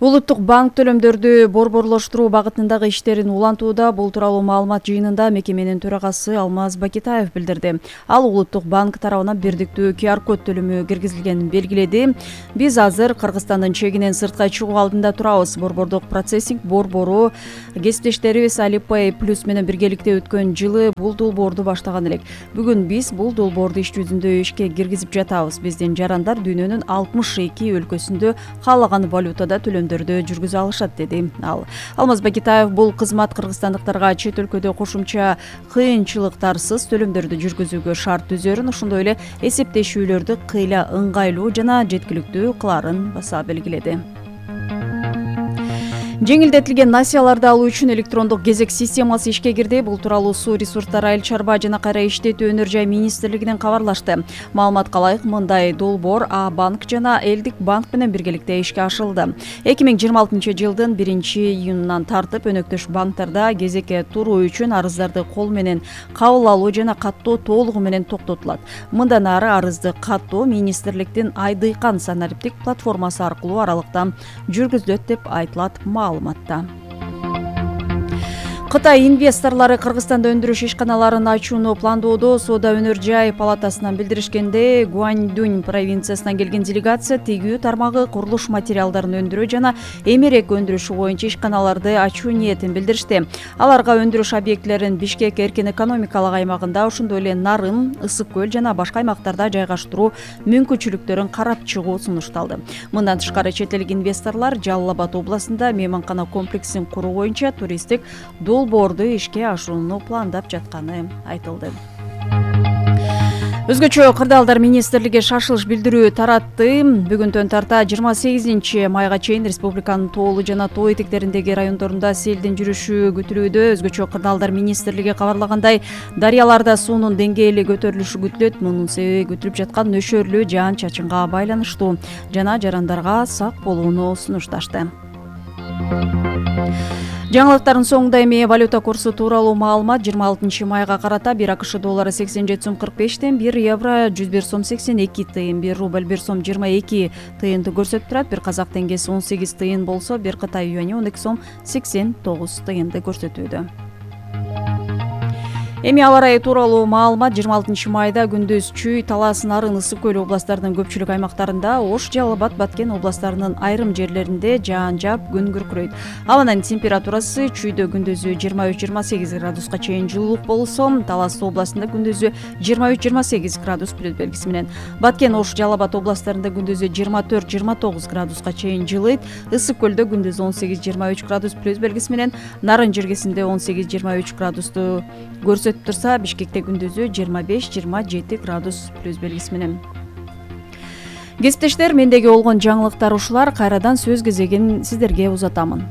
Улуттук банк төлөмдөрдү борборлоштуруу багытындагы иштерин улантууда. Бул тууралуу маалымат жыйынында мекеменин төрагасы Алмаз Бакитаев билдирди. Ал Улуттук банк тарабынан бирдиктүү ку ар код төлөмү киргизилгенин белгиледи. Биз азыр Кыргызстандын чегинен сыртка чыгуу алдында турабыз. Борбордук процессинг борбору кесиптештерибиз Alipay Plus менен биргеликте өткөн жылы бул долбоорду баштаган элек. Бүгүн биз бул долбоорду иш жүзүндө ишке киргизип жатабыз. Биздин жарандар дүйнөнүн алтымыш эки өлкөсүндө каалаган валютада төлөмдөрдү жүргүзө алышат, деди ал. Алмаз Бакитаев бул кызмат кыргызстандыктарга чет өлкөдө кошумча кыйынчылыктарсыз төлөмдөрдү жүргүзүүгө шарт түзөрүн, ошондой эле эсептешүүлөрдү кыйла ыңгайлуу жана жеткиликтүү кылаарын баса белгиледи. Жеңилдетилген насыяларды алуу үчүн электрондук кезек системасы ишке кирди. Бул тууралуу Суу ресурстары, айыл чарба жана кайра иштетүү өнөр жай министрлигинен кабарлашты. Маалыматка ылайык, мындай долбоор А банк жана Элдик банк менен биргеликте ишке ашырылды. эки миң жыйырма алтынчы жылдын биринчи июнунан тартып өнөктөш банктарда кезекке туруу үчүн арыздарды кол менен кабыл алуу жана каттоо толугу менен токтотулат. Мындан ары арызды каттоо министрликтин Айдыйкан санариптик платформасы аркылуу аралыктан жүргүзүлөт деп айтылат маалыматта. Кытай инвесторлору Кыргызстанда өндүрүш ишканаларын ачууну пландоодо. Соода өнөр жай палатасынан билдиришкенде, Гуандунь провинциясынан келген делегация тигүү тармагы курулуш материалдарын өндүрүү жана эмерек өндүрүшү боюнча ишканаларды ачуу ниетин билдиришти. Аларга өндүрүш объектилерин Бишкек эркин экономикалык аймагында, ошондой эле Нарын, Ысык көл жана башка аймактарда жайгаштыруу мүмкүнчүлүктөрүн карап чыгуу сунушталды. Мындан тышкары чет элдик инвесторлор Жалал Абад областында мейманкана комплексин куруу боюнча туристтик долбоорду ишке ашырууну пландап жатканы айтылды. Өзгөчө кырдаалдар министрлиги шашылыш билдирүү таратты. Бүгүндөн тарта жыйырма сегизинчи майга чейин республиканын тоолуу жана тоо этектериндеги райондорунда селдин жүрүшү күтүлүүдө. Өзгөчө кырдаалдар министрлиги кабарлагандай, дарыяларда суунун деңгээли көтөрүлүшү күтүлөт. Мунун себеби күтүлүп жаткан нөшөрлүү жаан-чачынга байланыштуу. Жана жарандарга сак болууну сунушташты. Жаңылыктардын соңунда эми валюта курсу тууралуу маалымат. жыйырма алтынчы майга карата бир АКШ доллары сексен жети сом кырк беш тыйын, бир евро жүз бир сом сексен эки тыйын, бир рубль бир сом жыйырма эки тыйынды көрсөтүп турат. Бир казак теңгеси он сегиз тыйын болсо, бир Кытай юани он эки сом сексен тогуз тыйынды көрсөтүүдө. Эми аба ырайы тууралуу маалымат. жыйырма алтынчы майда күндүз Чүй, Талас, Нарын, Ысык көл областарынын көпчүлүк аймактарында, Ош, Жалал Абад, Баткен областарынын айрым жерлеринде жаан жаап, күн күркүрөйт. Абанын температурасы Чүйдө күндүзү жыйырма үч жыйырма сегиз градуска чейин жылуулук болсо, Талас областында күндүзү жыйырма үч жыйырма сегиз градус плюс белгиси менен, Баткен, Ош, Жалал Абад областарында күндүзү жыйырма төрт жыйырма тогуз градуска чейин жылыйт. Ысык көлдө күндүзү он сегиз жыйырма үч градус плюс белгиси менен, Нарын жергесинде он сегиз жыйырма үч градусту көрсөтүп турса, Бишкекте күндүзү жыйырма беш жыйырма жети градус плюс белгиси менен. Кесиптештер, мендеги болгон жаңылыктар ушулар. Кайрадан сөз кезегин сиздерге узатамын.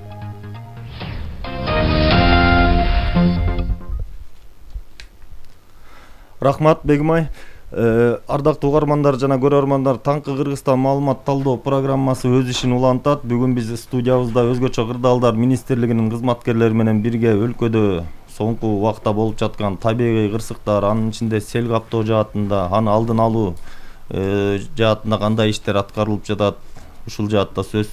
Рахмат, Бегимай. Ардактуу угармандар жана көрөрмандар, Таңкы Кыргызстан маалымат талдоо программасы өз ишин улантат. Бүгүн биз студиябызда өзгөчө кырдаалдар министрлигинин кызматкерлери менен бирге өлкөдө соңку убакта болуп жаткан табигый кырсыктар, анын ичинде сел каптоо жаатында, аны алдын алуу жаатында кандай иштер аткарылып жатат, ушул жаатта сөз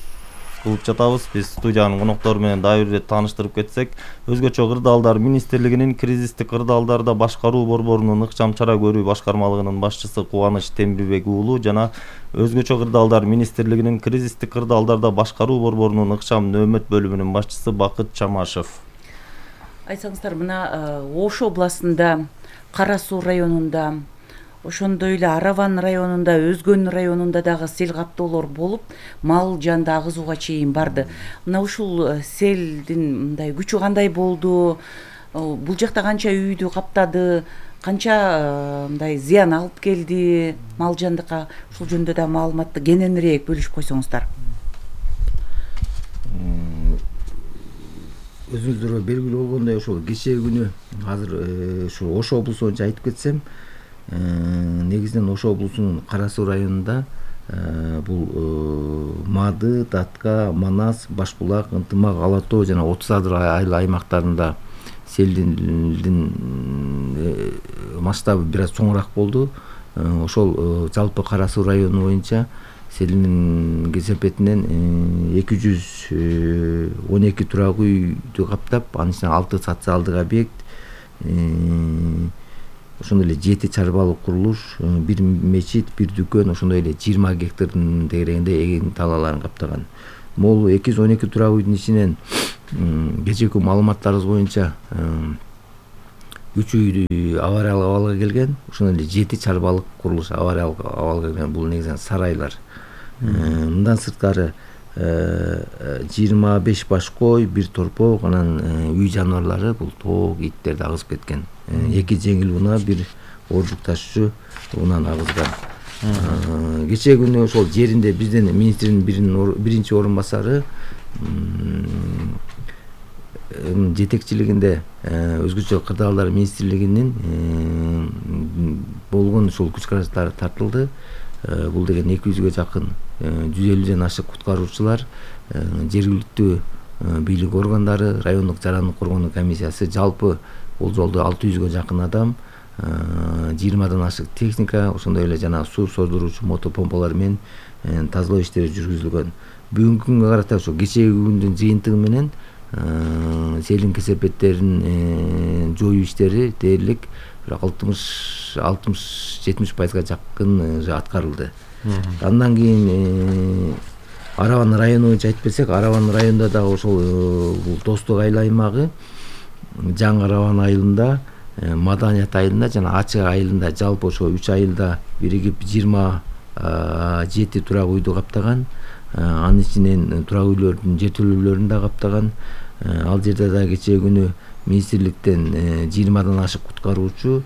кылып жатабыз. Биз студиянын коноктору менен дагы бир ирет тааныштырып кетсек, өзгөчө кырдаалдар министрлигинин кризистик кырдаалдарда башкаруу борборунун ыкчам чара көрүү башкармалыгынын башчысы Кубаныч Темирбек уулу жана өзгөчө кырдаалдар министрлигинин кризистик кырдаалдарда башкаруу борборунун ыкчам нөөмөт бөлүмүнүн башчысы Бакыт Чамашев. Айтсаңыздар, мына Ош областында, Кара Суу районунда, ошондой эле Араван районунда, Өзгөн районунда дагы сел каптоолор болуп, мал жанды агызууга чейин барды. Мына ушул селдин мындай күчү кандай болду? Бул жакта канча үйдү каптады? Канча мындай зыян алып келди мал жандыкка? Ушул жөнүндө да маалыматты кененирээк бөлүшүп койсоңуздар. Өзүңүздөргө белгилүү болгондой, ошол кечээ күнү азыр ушу Ош облусу боюнча айтып кетсем, негизинен Ош облусунун Кара Суу районунда бул Мады, Татка, Манас, Башбулак, Ынтымак, Ала тоо жана отуз адыр айыл аймактарында селдин масштабы бир аз чоңураак болду. Ошол жалпы Кара Суу району боюнча селинин кесепетинен эки жүз он эки турак үйдү каптап, анын ичинде алты социалдык объект, ошондой эле жети чарбалык курулуш, бир мечит, бир дүкөн, ошондой эле жыйырма гектардын тегерегинде эгин талааларын каптаган. Могул эки жүз он эки турак үйдүн ичинен кечээки маалыматтарыбыз боюнча үч үй авариялык абалга келген, ошондой эле жети чарбалык курулуш авариялык абалга келген. Бул негизинен сарайлар. Мындан сырткары жыйырма беш баш кой, бир торпок, анан үй жаныбарлары, бул тоок, иттер агызып кеткен. Эки жеңил унаа, бир ооржук ташуучу унааны агызган. Кечээ күнү ошол жеринде бизден министрдин биринчи орун басары жетекчилигинде өзгөчө кырдаалдар министрлигинин болгон ушул күч караштары тартылды. Бул деген эки жүзгө жакын, жүз элүүдөн ашык куткаруучулар, жергиликтүү бийлик органдары, райондук жарандык коргонуу комиссиясы, жалпы бул жолду алты жүзгө жакын адам, жыйырмадан ашык техника, ошондой эле жана суу создуруучу мотопомпалар менен тазалоо иштери жүргүзүлгөн. Бүгүнкү күнгө карата ошо кечээги күндүн жыйынтыгы менен селин кесепеттерин жоюу иштери дээрлик алтымыш жетимиш пайызга жакын аткарылды. Андан кийин Арабан району боюнча айтып берсек, Арабан районунда дагы ошол Достук айыл аймагы, Жаңы Арабан айылында, Маданият айылында жана Ачык айылында, жалпы ошо үч айылда биригип жыйырма жети турак үйдү каптаган. Анын ичинен турак үйлөрдүн жертөлөлөрүн да каптаган. Ал жерде да кечээ күнү министрликтен жыйырмадан ашык куткаруучу,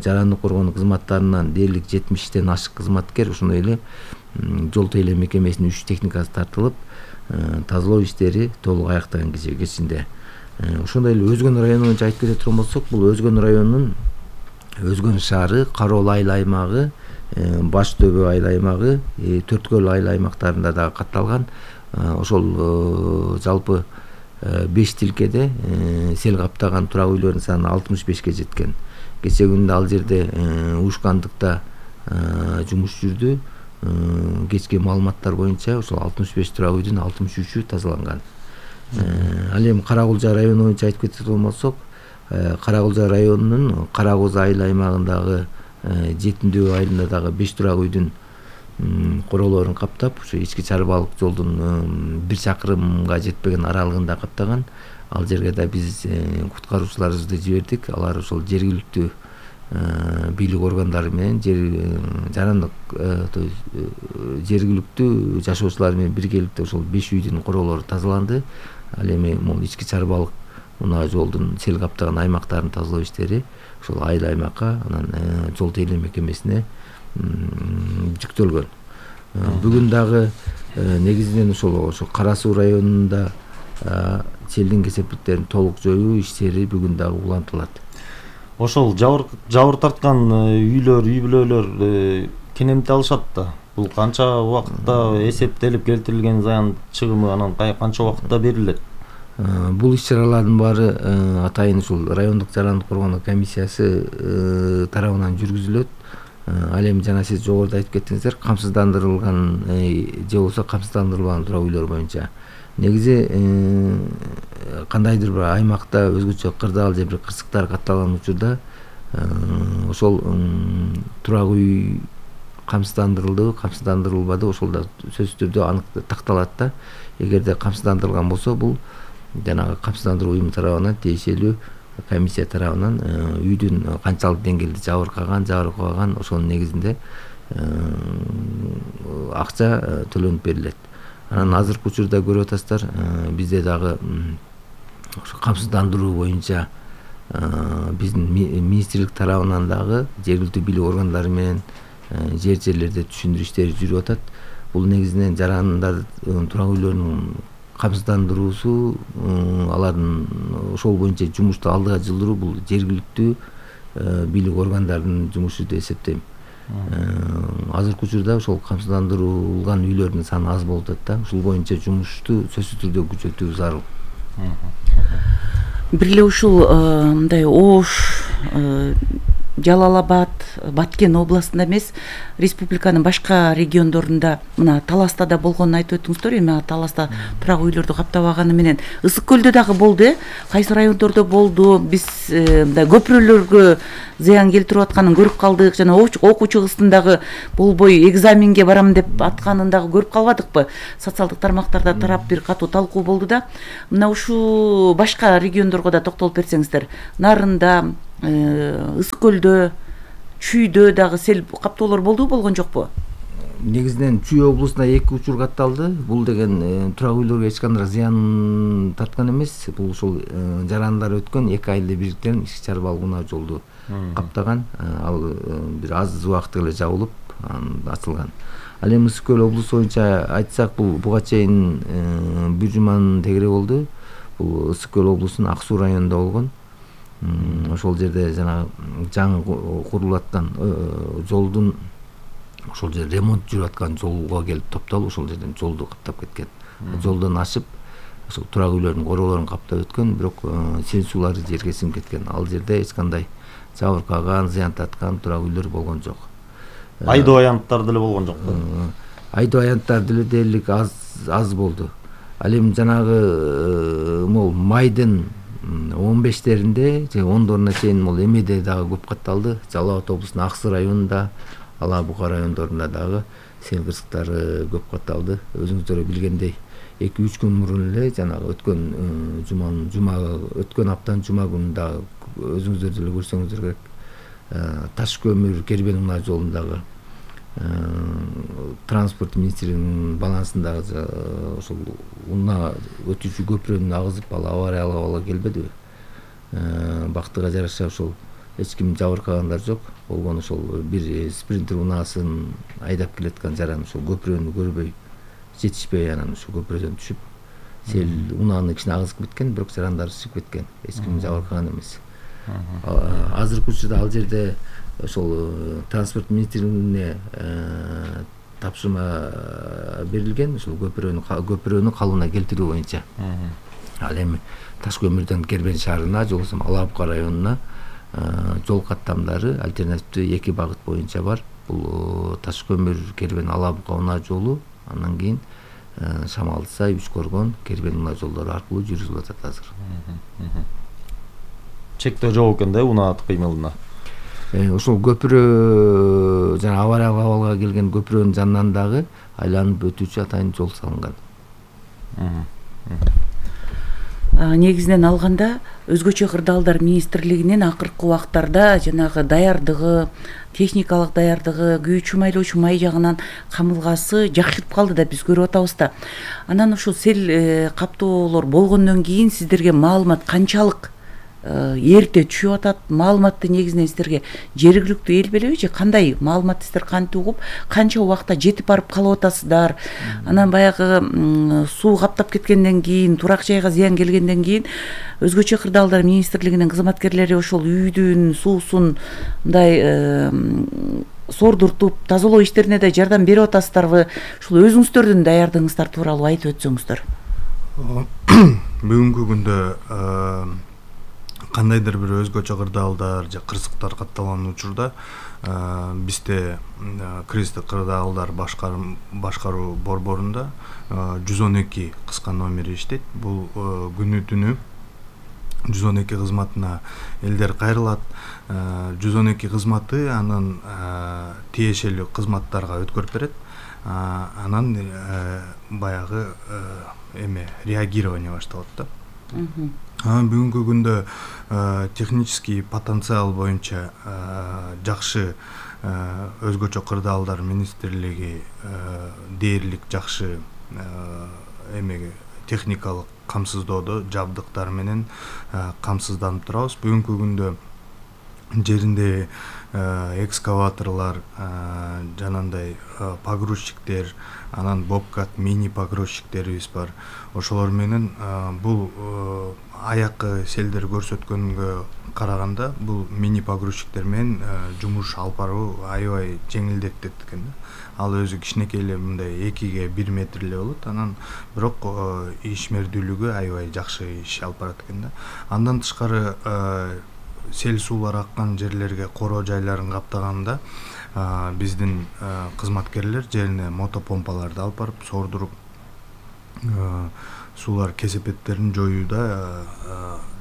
жарандык коргонуу кызматтарынан дээрлик жетимиштен ашык кызматкер, ошондой эле жол тейлөө мекемесинин үч техникасы тартылып, тазалоо иштери толук аяктаган кечээ кечинде. Ошондой эле Өзгөн району боюнча айтып кете турган болсок, бул Өзгөн районунун Өзгөн шаары, Кароол айыл аймагы, Баш Төбө айыл аймагы, Төрткөл айыл аймактарында дагы катталган. Ошол жалпы беш тилкеде сел каптаган турак үйлөрдүн саны алтымыш бешке жеткен. Кечээ күндө ал жерде уюшкандыкта жумуш жүрдү. Кечки маалыматтар боюнча ошол алтымыш беш турак үйдүн алтымыш үчү тазаланган. Ал эми Каракулжа району боюнча айтып кеткен болсок, Каракулжа районунун Каракоз айыл аймагындагы Жетимдөө айылында дагы беш турак үйдүн королорун каптап, ушу ички чарбалык жолдун бир чакырымга жетпеген аралыгында каптаган. Ал жерге да биз куткаруучуларыбызды жибердик. Алар ошол жергиликтүү бийлик органдары менен жарандык жергиликтүү жашоочулар менен биргеликте ошол беш үйдүн королору тазаланды. Ал эми могул ички чарбалык унаа жолдун сел каптаган аймактарын тазалоо иштери ошол айыл аймакка, анан жол тейлөө мекемесине жүктөлгөн. Бүгүн дагы негизинен ошол ошо Кара Суу районунда селдин кесепеттерин толук жоюу иштери бүгүн дагы улантылат. Ошол жабыр тарткан үйлөр, үй бүлөлөр кенемти алышат да. Бул канча убакытта эсептелип келтирилген зыян чыгымы, анан канча убакытта берилет? Бул иш-чаралардын баары атайын ушул райондук жарандык коргонуу комиссиясы тарабынан жүргүзүлөт. Ал эми жана сиз жогоруда айтып кеттиңиздер, камсыздандырылган же болбосо камсыздандырылбаган турак үйлөр боюнча. Негизи кандайдыр бир аймакта өзгөчө кырдаал же бир кырсыктар катталган учурда ошол турак үй камсыздандырылдыбы, камсыздандырылбады, ошол да сөзсүз түрдө анык такталат да. Эгерде камсыздандырылган болсо, бул жанагы камсыздандыруу уюму тарабынан тиешелүү комиссия тарабынан үйдүн канчалык деңгээлде жабыркаган, жабыркабаган, ошонун негизинде акча төлөнүп берилет. Анан азыркы учурда көрүп атасыздар, бизде дагы ошо камсыздандыруу боюнча биздин министрлик тарабынан дагы жергиликтүү бийлик органдары менен жер жерлерде түшүндүрүү иштери жүрүп атат. Бул негизинен жарандар турак үйлөрүнүн камсыздандыруусу, алардын ошол боюнча жумушту алдыга жылдыруу бул жергиликтүү бийлик органдарынын жумушу деп эсептейм. Азыркы учурда ошол камсыздандырылган үйлөрдүн саны аз болуп атат да. Ушул боюнча жумушту сөзсүз түрдө күчөтүү зарыл. Бир эле ушул мындай оош Жалал Абад, Баткен областында эмес, республиканын башка региондорунда мына Таласта да болгонун айтып өттүңүздөр. Эми Таласта турак үйлөрдү каптабаганы менен Ысык көлдө дагы болду, э? Кайсы райондордо болду? Биз мындай көпүрөлөргө зыян келтирип атканын көрүп калдык. Жана окуучу кыздын дагы болбой экзаменге барам деп атканын дагы көрүп калбадыкпы? Социалдык тармактарда тарап бир катуу талкуу болду да. Мына ушул башка региондорго да токтолуп берсеңиздер. Нарында, Ысык көлдө, Чүйдө дагы сел каптоолор болду, болгон жокпу? Негизинен Чүй облусунда эки учур катталды. Бул деген турак үйлөргө эч кандай зыян тарткан эмес. Бул ушул жарандар өткөн эки айылды бириктирен ички чарбалык унаа жолду каптаган. Ал бир аз убакыт эле жабылып ачылган. Ал эми Ысык көл облусу боюнча айтсак, бул буга чейин бир жуманын тегере болду. Бул Ысык көл облусунун Ак Суу районунда болгон. Ошол жерде жана жаңы курулуп аткан жолдун ошол жерде ремонт жүрүп аткан жолго келип топтолуп, ошол жерден жолду каптап кеткен. Жолдон ашып, ошол турак үйлөрдүн короолорун каптап өткөн, бирок сел суулары жерге сиңип кеткен. Ал жерде эч кандай жабыркаган, зыян тарткан турак үйлөр болгон жок. Айдоо аянттар деле болгон жокпу? Айдоо аянттар деле дээрлик аз аз болду. Ал эми жанагы могу майдын он бештеринде же ондоруна чейин могу эмеде дагы көп катталды. Жалал Абад облусунун Ак Суу районунда, Ала Бука райондорунда дагы сел кырсыктары көп катталды. Өзүңүздөр билгендей, эки үч күн мурун эле жанагы өткөн жуманын жума өткөн аптанын жума күнү дагы өзүңүздөр деле көрсөңүздөр керек. Таш көмүр кербен унаа жолундагы транспорт министринин балансындагы ошол унаа өтүүчү көпүрөнү агызып, ал авария ала келбедиби? Бактыга жараша ошол эч ким жабыркагандар жок. Болгон ошол бир спринтер унаасын айдап келаткан жаран ошол көпүрөнү көрбөй, жетишпей, анан ошол көпүрөдөн түшүп, сел унаанын ичине агызып кеткен, бирок жарандар чыгып кеткен. Эч ким жабыркаган эмес. Азыркы учурда ал жерде ошол транспорт министрлигине тапшырма берилген, ошол көпүрөнү көпүрөнү калыбына келтирүү боюнча. Ал эми Таш көмүрдөн Кербен шаарына, же болбосо Ала Бука районуна жол каттамдары альтернативдүү эки багыт боюнча бар. Бул Таш көмүр Кербен Ала Бука унаа жолу, андан кийин Шамалдысай, Үч Коргон, Кербен унаа жолдору аркылуу жүргүзүлүп атат азыр. Чектөө жок экен да унаа кыймылына. Ошол көпүрө жана авариялык абалга келген көпүрөнүн жанынан дагы айланып өтүүчү атайын жол салынган. Негизинен алганда өзгөчө кырдаалдар министрлигинин акыркы убактарда жанагы даярдыгы, техникалык даярдыгы, күйүүчү майлоочу май жагынан камылгасы жакшырып калды да биз көрүп атабыз да. Анан ушул сел каптоолор болгондон кийин сиздерге маалымат канчалык эрте түшүп атат? Маалыматты негизинен сиздерге жергиликтүү эл белеби же кандай маалыматты сиздер кантип угуп, канча убакта жетип барып калып атасыздар? Анан баягы суу каптап кеткенден кийин, турак жайга зыян келгенден кийин өзгөчө кырдаалдар министрлигинин кызматкерлери ошол үйдүн суусун мындай сордуртуп, тазалоо иштерине да жардам берип атасыздарбы? Ушул өзүңүздөрдүн даярдыгыңыздар тууралуу айтып өтсөңүздөр. Бүгүнкү күндө кандайдыр бир өзгөчө кырдаалдар же кырсыктар катталган учурда бизде Кристик кырдаалдар башкаруу борборунда жүз он эки кыска номери иштейт. Бул күнү түнү жүз он эки кызматына элдер кайрылат. жүз он эки кызматы анан тиешелүү кызматтарга өткөрүп берет. Анан баягы эме реагирование башталат да. Бүгүнкү күндө технический потенциал боюнча жакшы өзгөчө кырдаалдар министрлиги дээрлик жакшы эмеге техникалык камсыздоодо жабдыктар менен камсызданып турабыз. Бүгүнкү күндө жеринде экскаваторлор, жанандай погрузчиктер, анан бобкат, мини погрузчиктерибиз бар. Ошолор менен бул аякы селдер көрсөткөнгө караганда бул мини погрузчиктер менен жумуш алып баруу аябай жеңилдетет экен да. Ал өзү кичинекей эле мындай экиге бир метр эле болот. Анан бирок ишмердүүлүгү аябай жакшы иш алып барат экен да. Андан тышкары сел суулар аккан жерлерге короо жайларын каптаганда биздин кызматкерлер жерине мотопомпаларды алып барып сордуруп суулар кесепеттерин жоюуда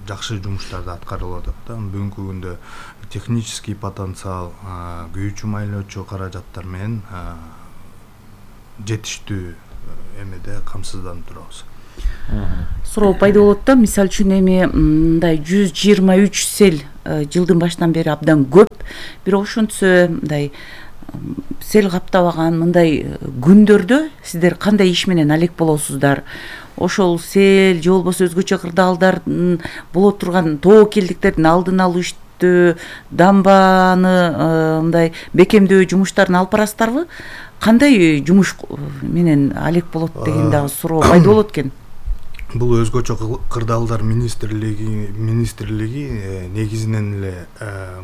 жакшы жумуштарды аткарылып атат да. Бүгүнкү күндө технический потенциал, күйүүчү майлоочу каражаттар менен жетиштүү эмеде камсызданып турабыз. Суроо пайда болот да, мисалы үчүн эми мындай жүз жыйырма үч сел жылдын башынан бери абдан көп, бирок ошентсе мындай сел каптабаган мындай күндөрдө сиздер кандай иш менен алек болосуздар? Ошол сел же болбосо өзгөчө кырдаалдар боло турган тобокелдиктердин алдын алуу иштөө, дамбаны мындай бекемдөө жумуштарын алып барасыздарбы? Кандай жумуш менен алек болот деген дагы суроо пайда болот экен. Бул өзгөчө кырдаалдар министрлиги министрлиги негизинен эле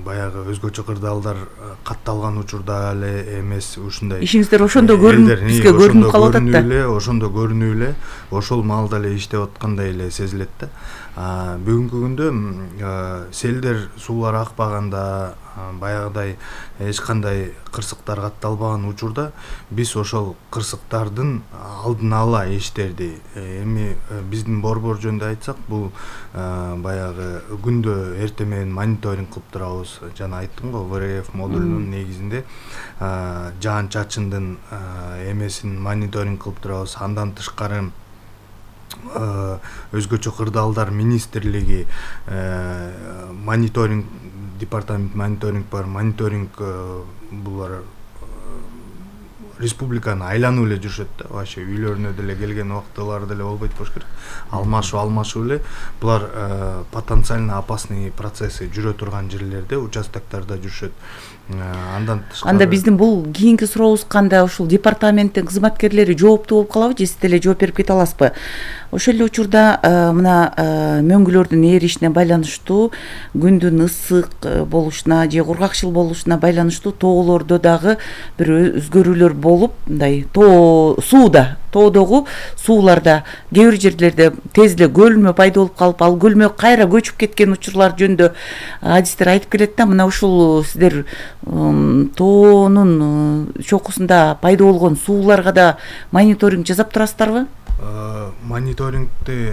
баягы өзгөчө кырдаалдар катталган учурда эле эмес ушундай ишиңиздер ошондо көрүнүп бизге көрүнүп калып атат да. Ошондо көрүнүп эле ошол маалда эле иштеп аткандай эле сезилет да. Бүгүнкү күндө селдер суулар акпаганда, баягыдай эч кандай кырсыктар катталбаган учурда биз ошол кырсыктардын алдын ала иштерди, эми биздин борбор жөнүндө айтсак, бул баягы күндө эртең менен мониторинг кылып турабыз. Жана айттым го, вэ эр эф модулунун негизинде жаан чачындын эмесин мониторинг кылып турабыз. Андан тышкары өзгөчө кырдаалдар министрлиги мониторинг департамент мониторинг бар, мониторинг булар республиканы айланып эле жүрүшөт да, вообще үйлөрүнө деле келген убактылары деле болбойт болуш керек. Алмашуу алмашуу эле булар потенциально опасный процесси жүрө турган жерлерде, участоктарда жүрүшөт. Андан тышкары анда биздин бул кийинки сурообуз кандай, ушул департаменттин кызматкерлери жооптуу болуп калабы же сиз деле жооп берип кете аласызбы? Ошол эле учурда мына мөңгүлөрдүн эришине байланыштуу, күндүн ысык болушуна же кургакчыл болушуна байланыштуу тоолордо дагы бир өзгөрүүлөр болуп, мындай тоо сууда, тоодогу сууларда кээ бир жерлерде тез эле көлмө пайда болуп калып, ал көлмө кайра көчүп кеткен учурлар жөнүндө адистер айтып келет да. Мына ушул сиздер тоонун чокусунда пайда болгон сууларга да мониторинг жасап турасыздарбы? Мониторингти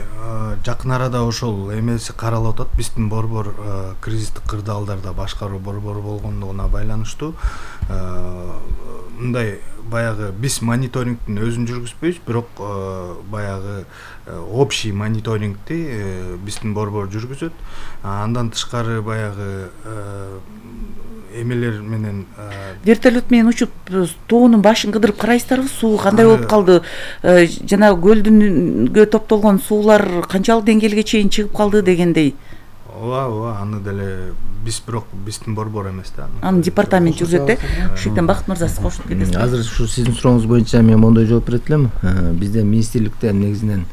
жакын арада ошол эмеси каралып атат. Биздин борбор кризистик кырдаалдарда башкаруу борбору болгондугуна байланыштуу мындай баягы биз мониторингтин өзүн жүргүзбөйбүз, бирок баягы общий мониторингти биздин борбор жүргүзөт. Андан тышкары баягы эмелер менен вертолет менен учуп тоонун башын кыдырып карайсыздарбы? Суу кандай болуп калды? Жана көлдүнгө топтолгон суулар канчалык деңгээлге чейин чыгып калды дегендей. Ооба, ооба, аны деле биз бирок биздин борбор эмес да. Аны департамент жүргүзөт да. Ушунден Бакыт мырза сиз кошулуп кетесизби? Азыр ушу сиздин сурооңуз боюнча мен мондой жооп берет элем. Бизде министрликтен негизинен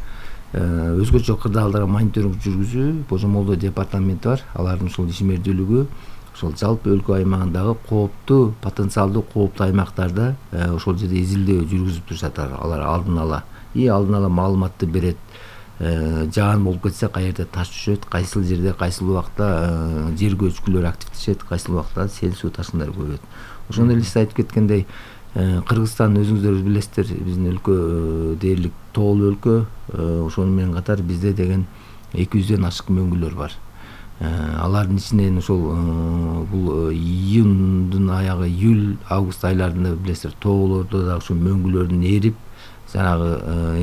өзгөчө кырдаалдарга мониторинг жүргүзүү божомолдоо департаменти бар. Алардын ушул ишмердүүлүгү ошол жалпы өлкө аймагындагы кооптуу, потенциалдуу кооптуу аймактарда ошол жерде изилдөө жүргүзүп турушат. Алар алдын ала и алдын ала маалыматты берет. Жаан болуп кетсе каерде таш түшөт, кайсыл жерде кайсыл убакта жер көчкүлөр активдешет, кайсыл убакта сел суу ташкындар көбөйөт. Ошондой эле сиз айтып кеткендей, Кыргызстан өзүңүздөр билесиздер, биздин өлкө дээрлик тоолуу өлкө. Ошону менен катар бизде деген эки жүздөн ашык мөңгүлөр бар. Алардын ичинен ошол бул июндун аягы, июль, август айларында билесиздер, тоолордо да ошол мөңгүлөрдүн эрип, жанагы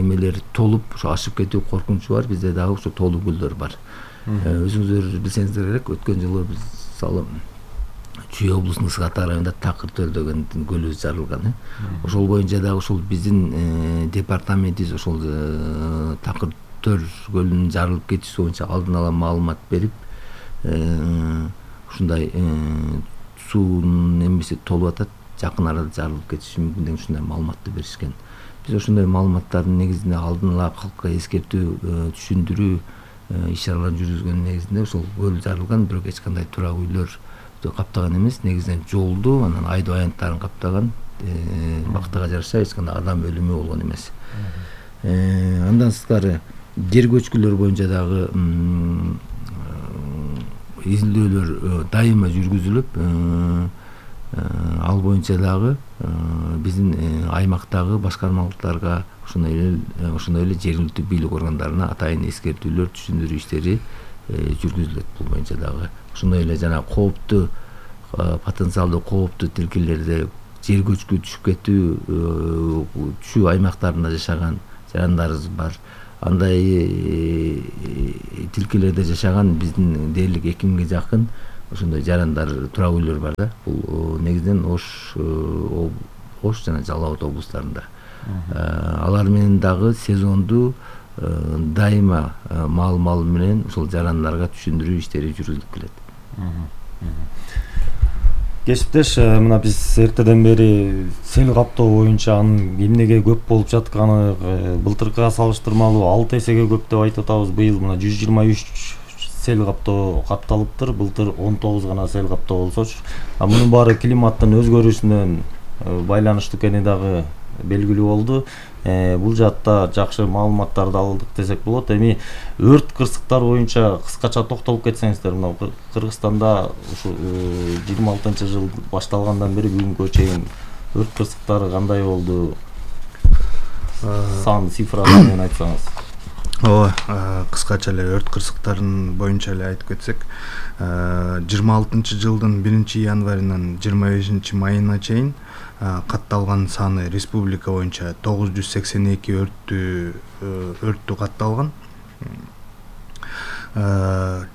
эмелер толуп, ошо ашып кетүү коркунучу бар. Бизде дагы ошо тоолуу көлдөр бар. Өзүңүздөр билсеңиздер керек, өткөн жылы биз мисалы Чүй облусунун Сыгатаа районунда Такыр Төл деген көлүбүз жарылган. Ошол боюнча дагы ошол биздин департаментибиз ошол Такыр Төл көлүнүн жарылып кетүүсү боюнча алдын ала маалымат берип, ушундай суунун эмеси толуп атат, жакын арада жарылып кетиши мүмкүн деген ушундай маалыматты беришкен. Биз ошондой маалыматтардын негизинде алдын ала калкка эскертүү, түшүндүрүү иш-чараларын жүргүзгөн негизинде ошол көл жарылган, бирок эч кандай турак үйлөр каптаган эмес, негизинен жолду, анан айдоо аянттарын каптаган, бактыга жараша эч кандай адам өлүмү болгон эмес. Андан сырткары жер көчкүлөр боюнча дагы изилдөөлөр дайыма жүргүзүлүп, ал боюнча дагы биздин аймактагы башкармалыктарга ошондой эле ошондой эле жергиликтүү бийлик органдарына атайын эскертүүлөр, түшүндүрүү иштери жүргүзүлөт. Бул боюнча дагы ошондой эле жана кооптуу потенциалдуу кооптуу тилкелерди жер көчкү түшүп кетүү түшүү аймактарында жашаган жарандарыбыз бар. Андай тилкелерде жашаган биздин дээрлик эки миңге жакын ошондой жарандар турак үйлөр бар да. Бул негизинен Ош Ош жана Жалал Абад облустарында. Алар менен дагы сезондуу дайыма маал-мал менен ошол жарандарга түшүндүрүү иштери жүргүзүлүп келет. Кесиптеш, мына биз эртеден бери сел каптоо боюнча анын эмнеге көп болуп жатканы былтыркыга салыштырмалуу алты эсеге көп деп айтып атабыз. Быйыл мына жүз жыйырма үч сел каптоо капталыптыр. Былтыр он тогуз гана сел каптоо болсочу. А мунун баары климаттын өзгөрүшүнөн байланыштуу экени дагы белгилүү болду. Бул жаатта жакшы маалыматтарды алдык десек болот. Эми өрт кырсыктар боюнча кыскача токтолуп кетсеңиздер, мына Кыргызстанда ушу жыйырма алтынчы жыл башталгандан бери бүгүнкү чейин өрт кырсыктары кандай болду? Сан цифра менен айтсаңыз. Ооба, кыскача эле өрт кырсыктарын боюнча эле айтып кетсек, жыйырма алтынчы жылдын биринчи январынан жыйырма бешинчи майына чейин катталган саны республика боюнча тогуз жүз сексен эки өрттү өрттү катталган.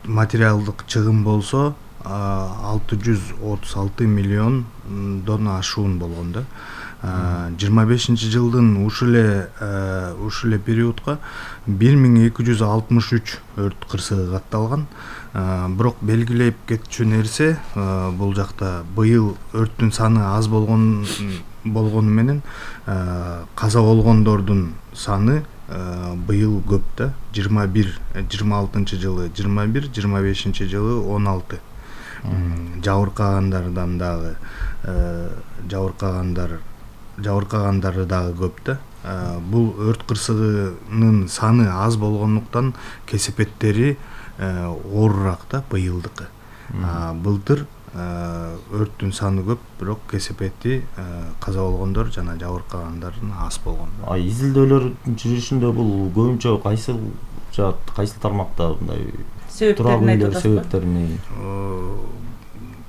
Материалдык чыгым болсо алты жүз отуз алты миллиондон ашуун болгон да. жыйырма бешинчи жылдын ушул эле ушул эле периодко бир миң эки жүз алтымыш үч өрт кырсыгы катталган. Бирок белгилеп кетчү нерсе, бул жакта быйыл өрттүн саны аз болгон болгону менен каза болгондордун саны быйыл көп да. жыйырма бир, жыйырма алтынчы жылы жыйырма бир, жыйырма бешинчи жылы он алты. Жабыркагандардан дагы жабыркагандар жабыркагандары дагы көп да. Бул өрт кырсыгынын саны аз болгондуктан кесепеттери оорураак да быйылдыкы. Былтыр өрттүн саны көп, бирок кесепети каза болгондор жана жабыркагандардын аз болгон. А изилдөөлөрдүн жүрүшүндө бул көбүнчө кайсы жаат, кайсы тармакта мындай себептерин айтып атасызбы? Себептерин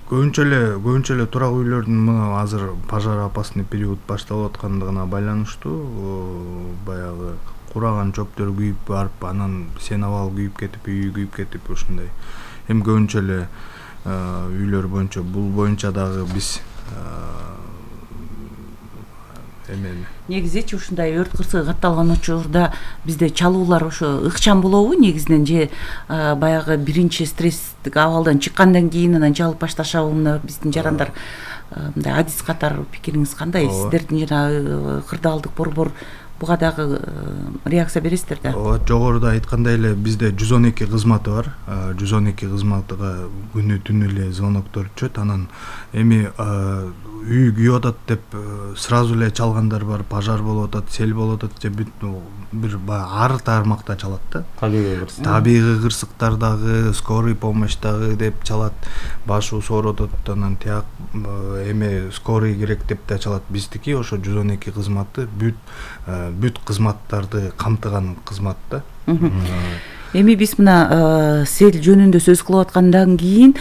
Көбүнчө эле көбүнчө эле турак үйлөрдүн мына азыр пожар опасный период башталып аткандыгына байланыштуу баягы кураган чөптөр күйүп барып, анан сенабал күйүп кетип, үйү күйүп кетип ушундай. Эми көбүнчө эле үйлөр боюнча бул боюнча дагы биз эмени негизичи ушундай өрт кырсыгы катталган учурда бизде чалуулар ошо ыкчам болобу негизинен же баягы биринчи стресстик абалдан чыккандан кийин анан чалып башташабы? Мына биздин жарандар мындай адис катары пикириңиз кандай? Сиздердин жана кырдаалдык борбор буга дагы реакция бересиздер да? Ооба, жогоруда айткандай эле бизде жүз он эки кызматы бар. жүз он эки кызматыга күнү түнү эле звоноктор түшөт. Анан эми үй күйүп атат деп сразу эле чалгандар бар, пожар болуп атат, сел болуп атат же бир ар тармакта чалат да. Табигый кырсык. Табигый кырсыктар дагы, скорый помощь дагы деп чалат. Башы сооруп атат, анан тияк эме скорый керек деп да чалат. Биздики ошо жүз он эки кызматы бүт бүт кызматтарды камтыган кызмат да. Эми биз мына сел жөнүндө сөз кылып аткандан кийин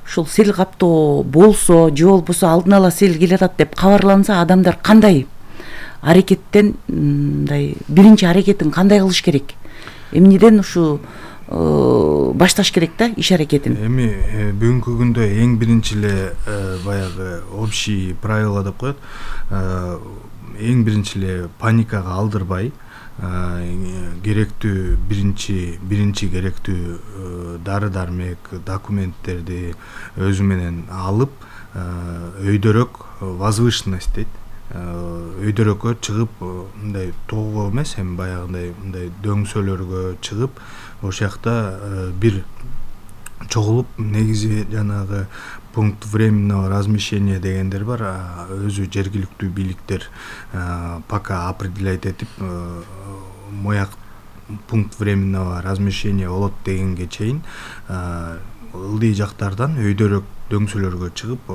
ушул сел каптоо болсо же болбосо алдын ала сел келатат деп кабарланса, адамдар кандай аракеттен мындай биринчи аракетин кандай кылыш керек? Эмнеден ушу башташ керек да иш аракетин? Эми бүгүнкү күндө эң биринчи эле баягы общий правила деп коет. Эң биринчи эле паникага алдырбай, керектүү биринчи биринчи керектүү дары дармек, документтерди өзү менен алып, өйдөрөк возвышенность дейт. Өйдөрөккө чыгып, мындай тоого эмес, эми баягындай мындай дөңсөлөргө чыгып, ошол жакта бир чогулуп, негизи жанагы пункт временного размещения дегендер бар. Өзү жергиликтүү бийликтер пока определять этип, мояк пункт временного размещения болот дегенге чейин ылдый жактардан өйдөрөөк дөңсөлөргө чыгып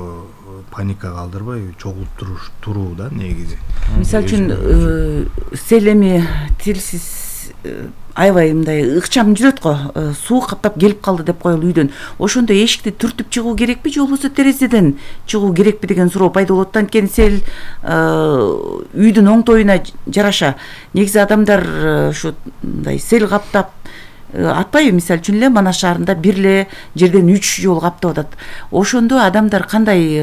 паника калтырбай чогулуп туруш туруу да негизи. Мисалы үчүн сел эми тилсиз аябай мындай ыкчам жүрөт го, суу каптап келип калды деп коелу үйдөн. Ошондо эшикти түртүп чыгуу керекпи же болбосо терезеден чыгуу керекпи деген суроо пайда болот. Анткени сел үйдүн оңтоюна жараша негизи адамдар ушундай сел каптап атпайбы, мисалы үчүн эле Манас шаарында бир эле жерден үч жолу каптап атат. Ошондо адамдар кандай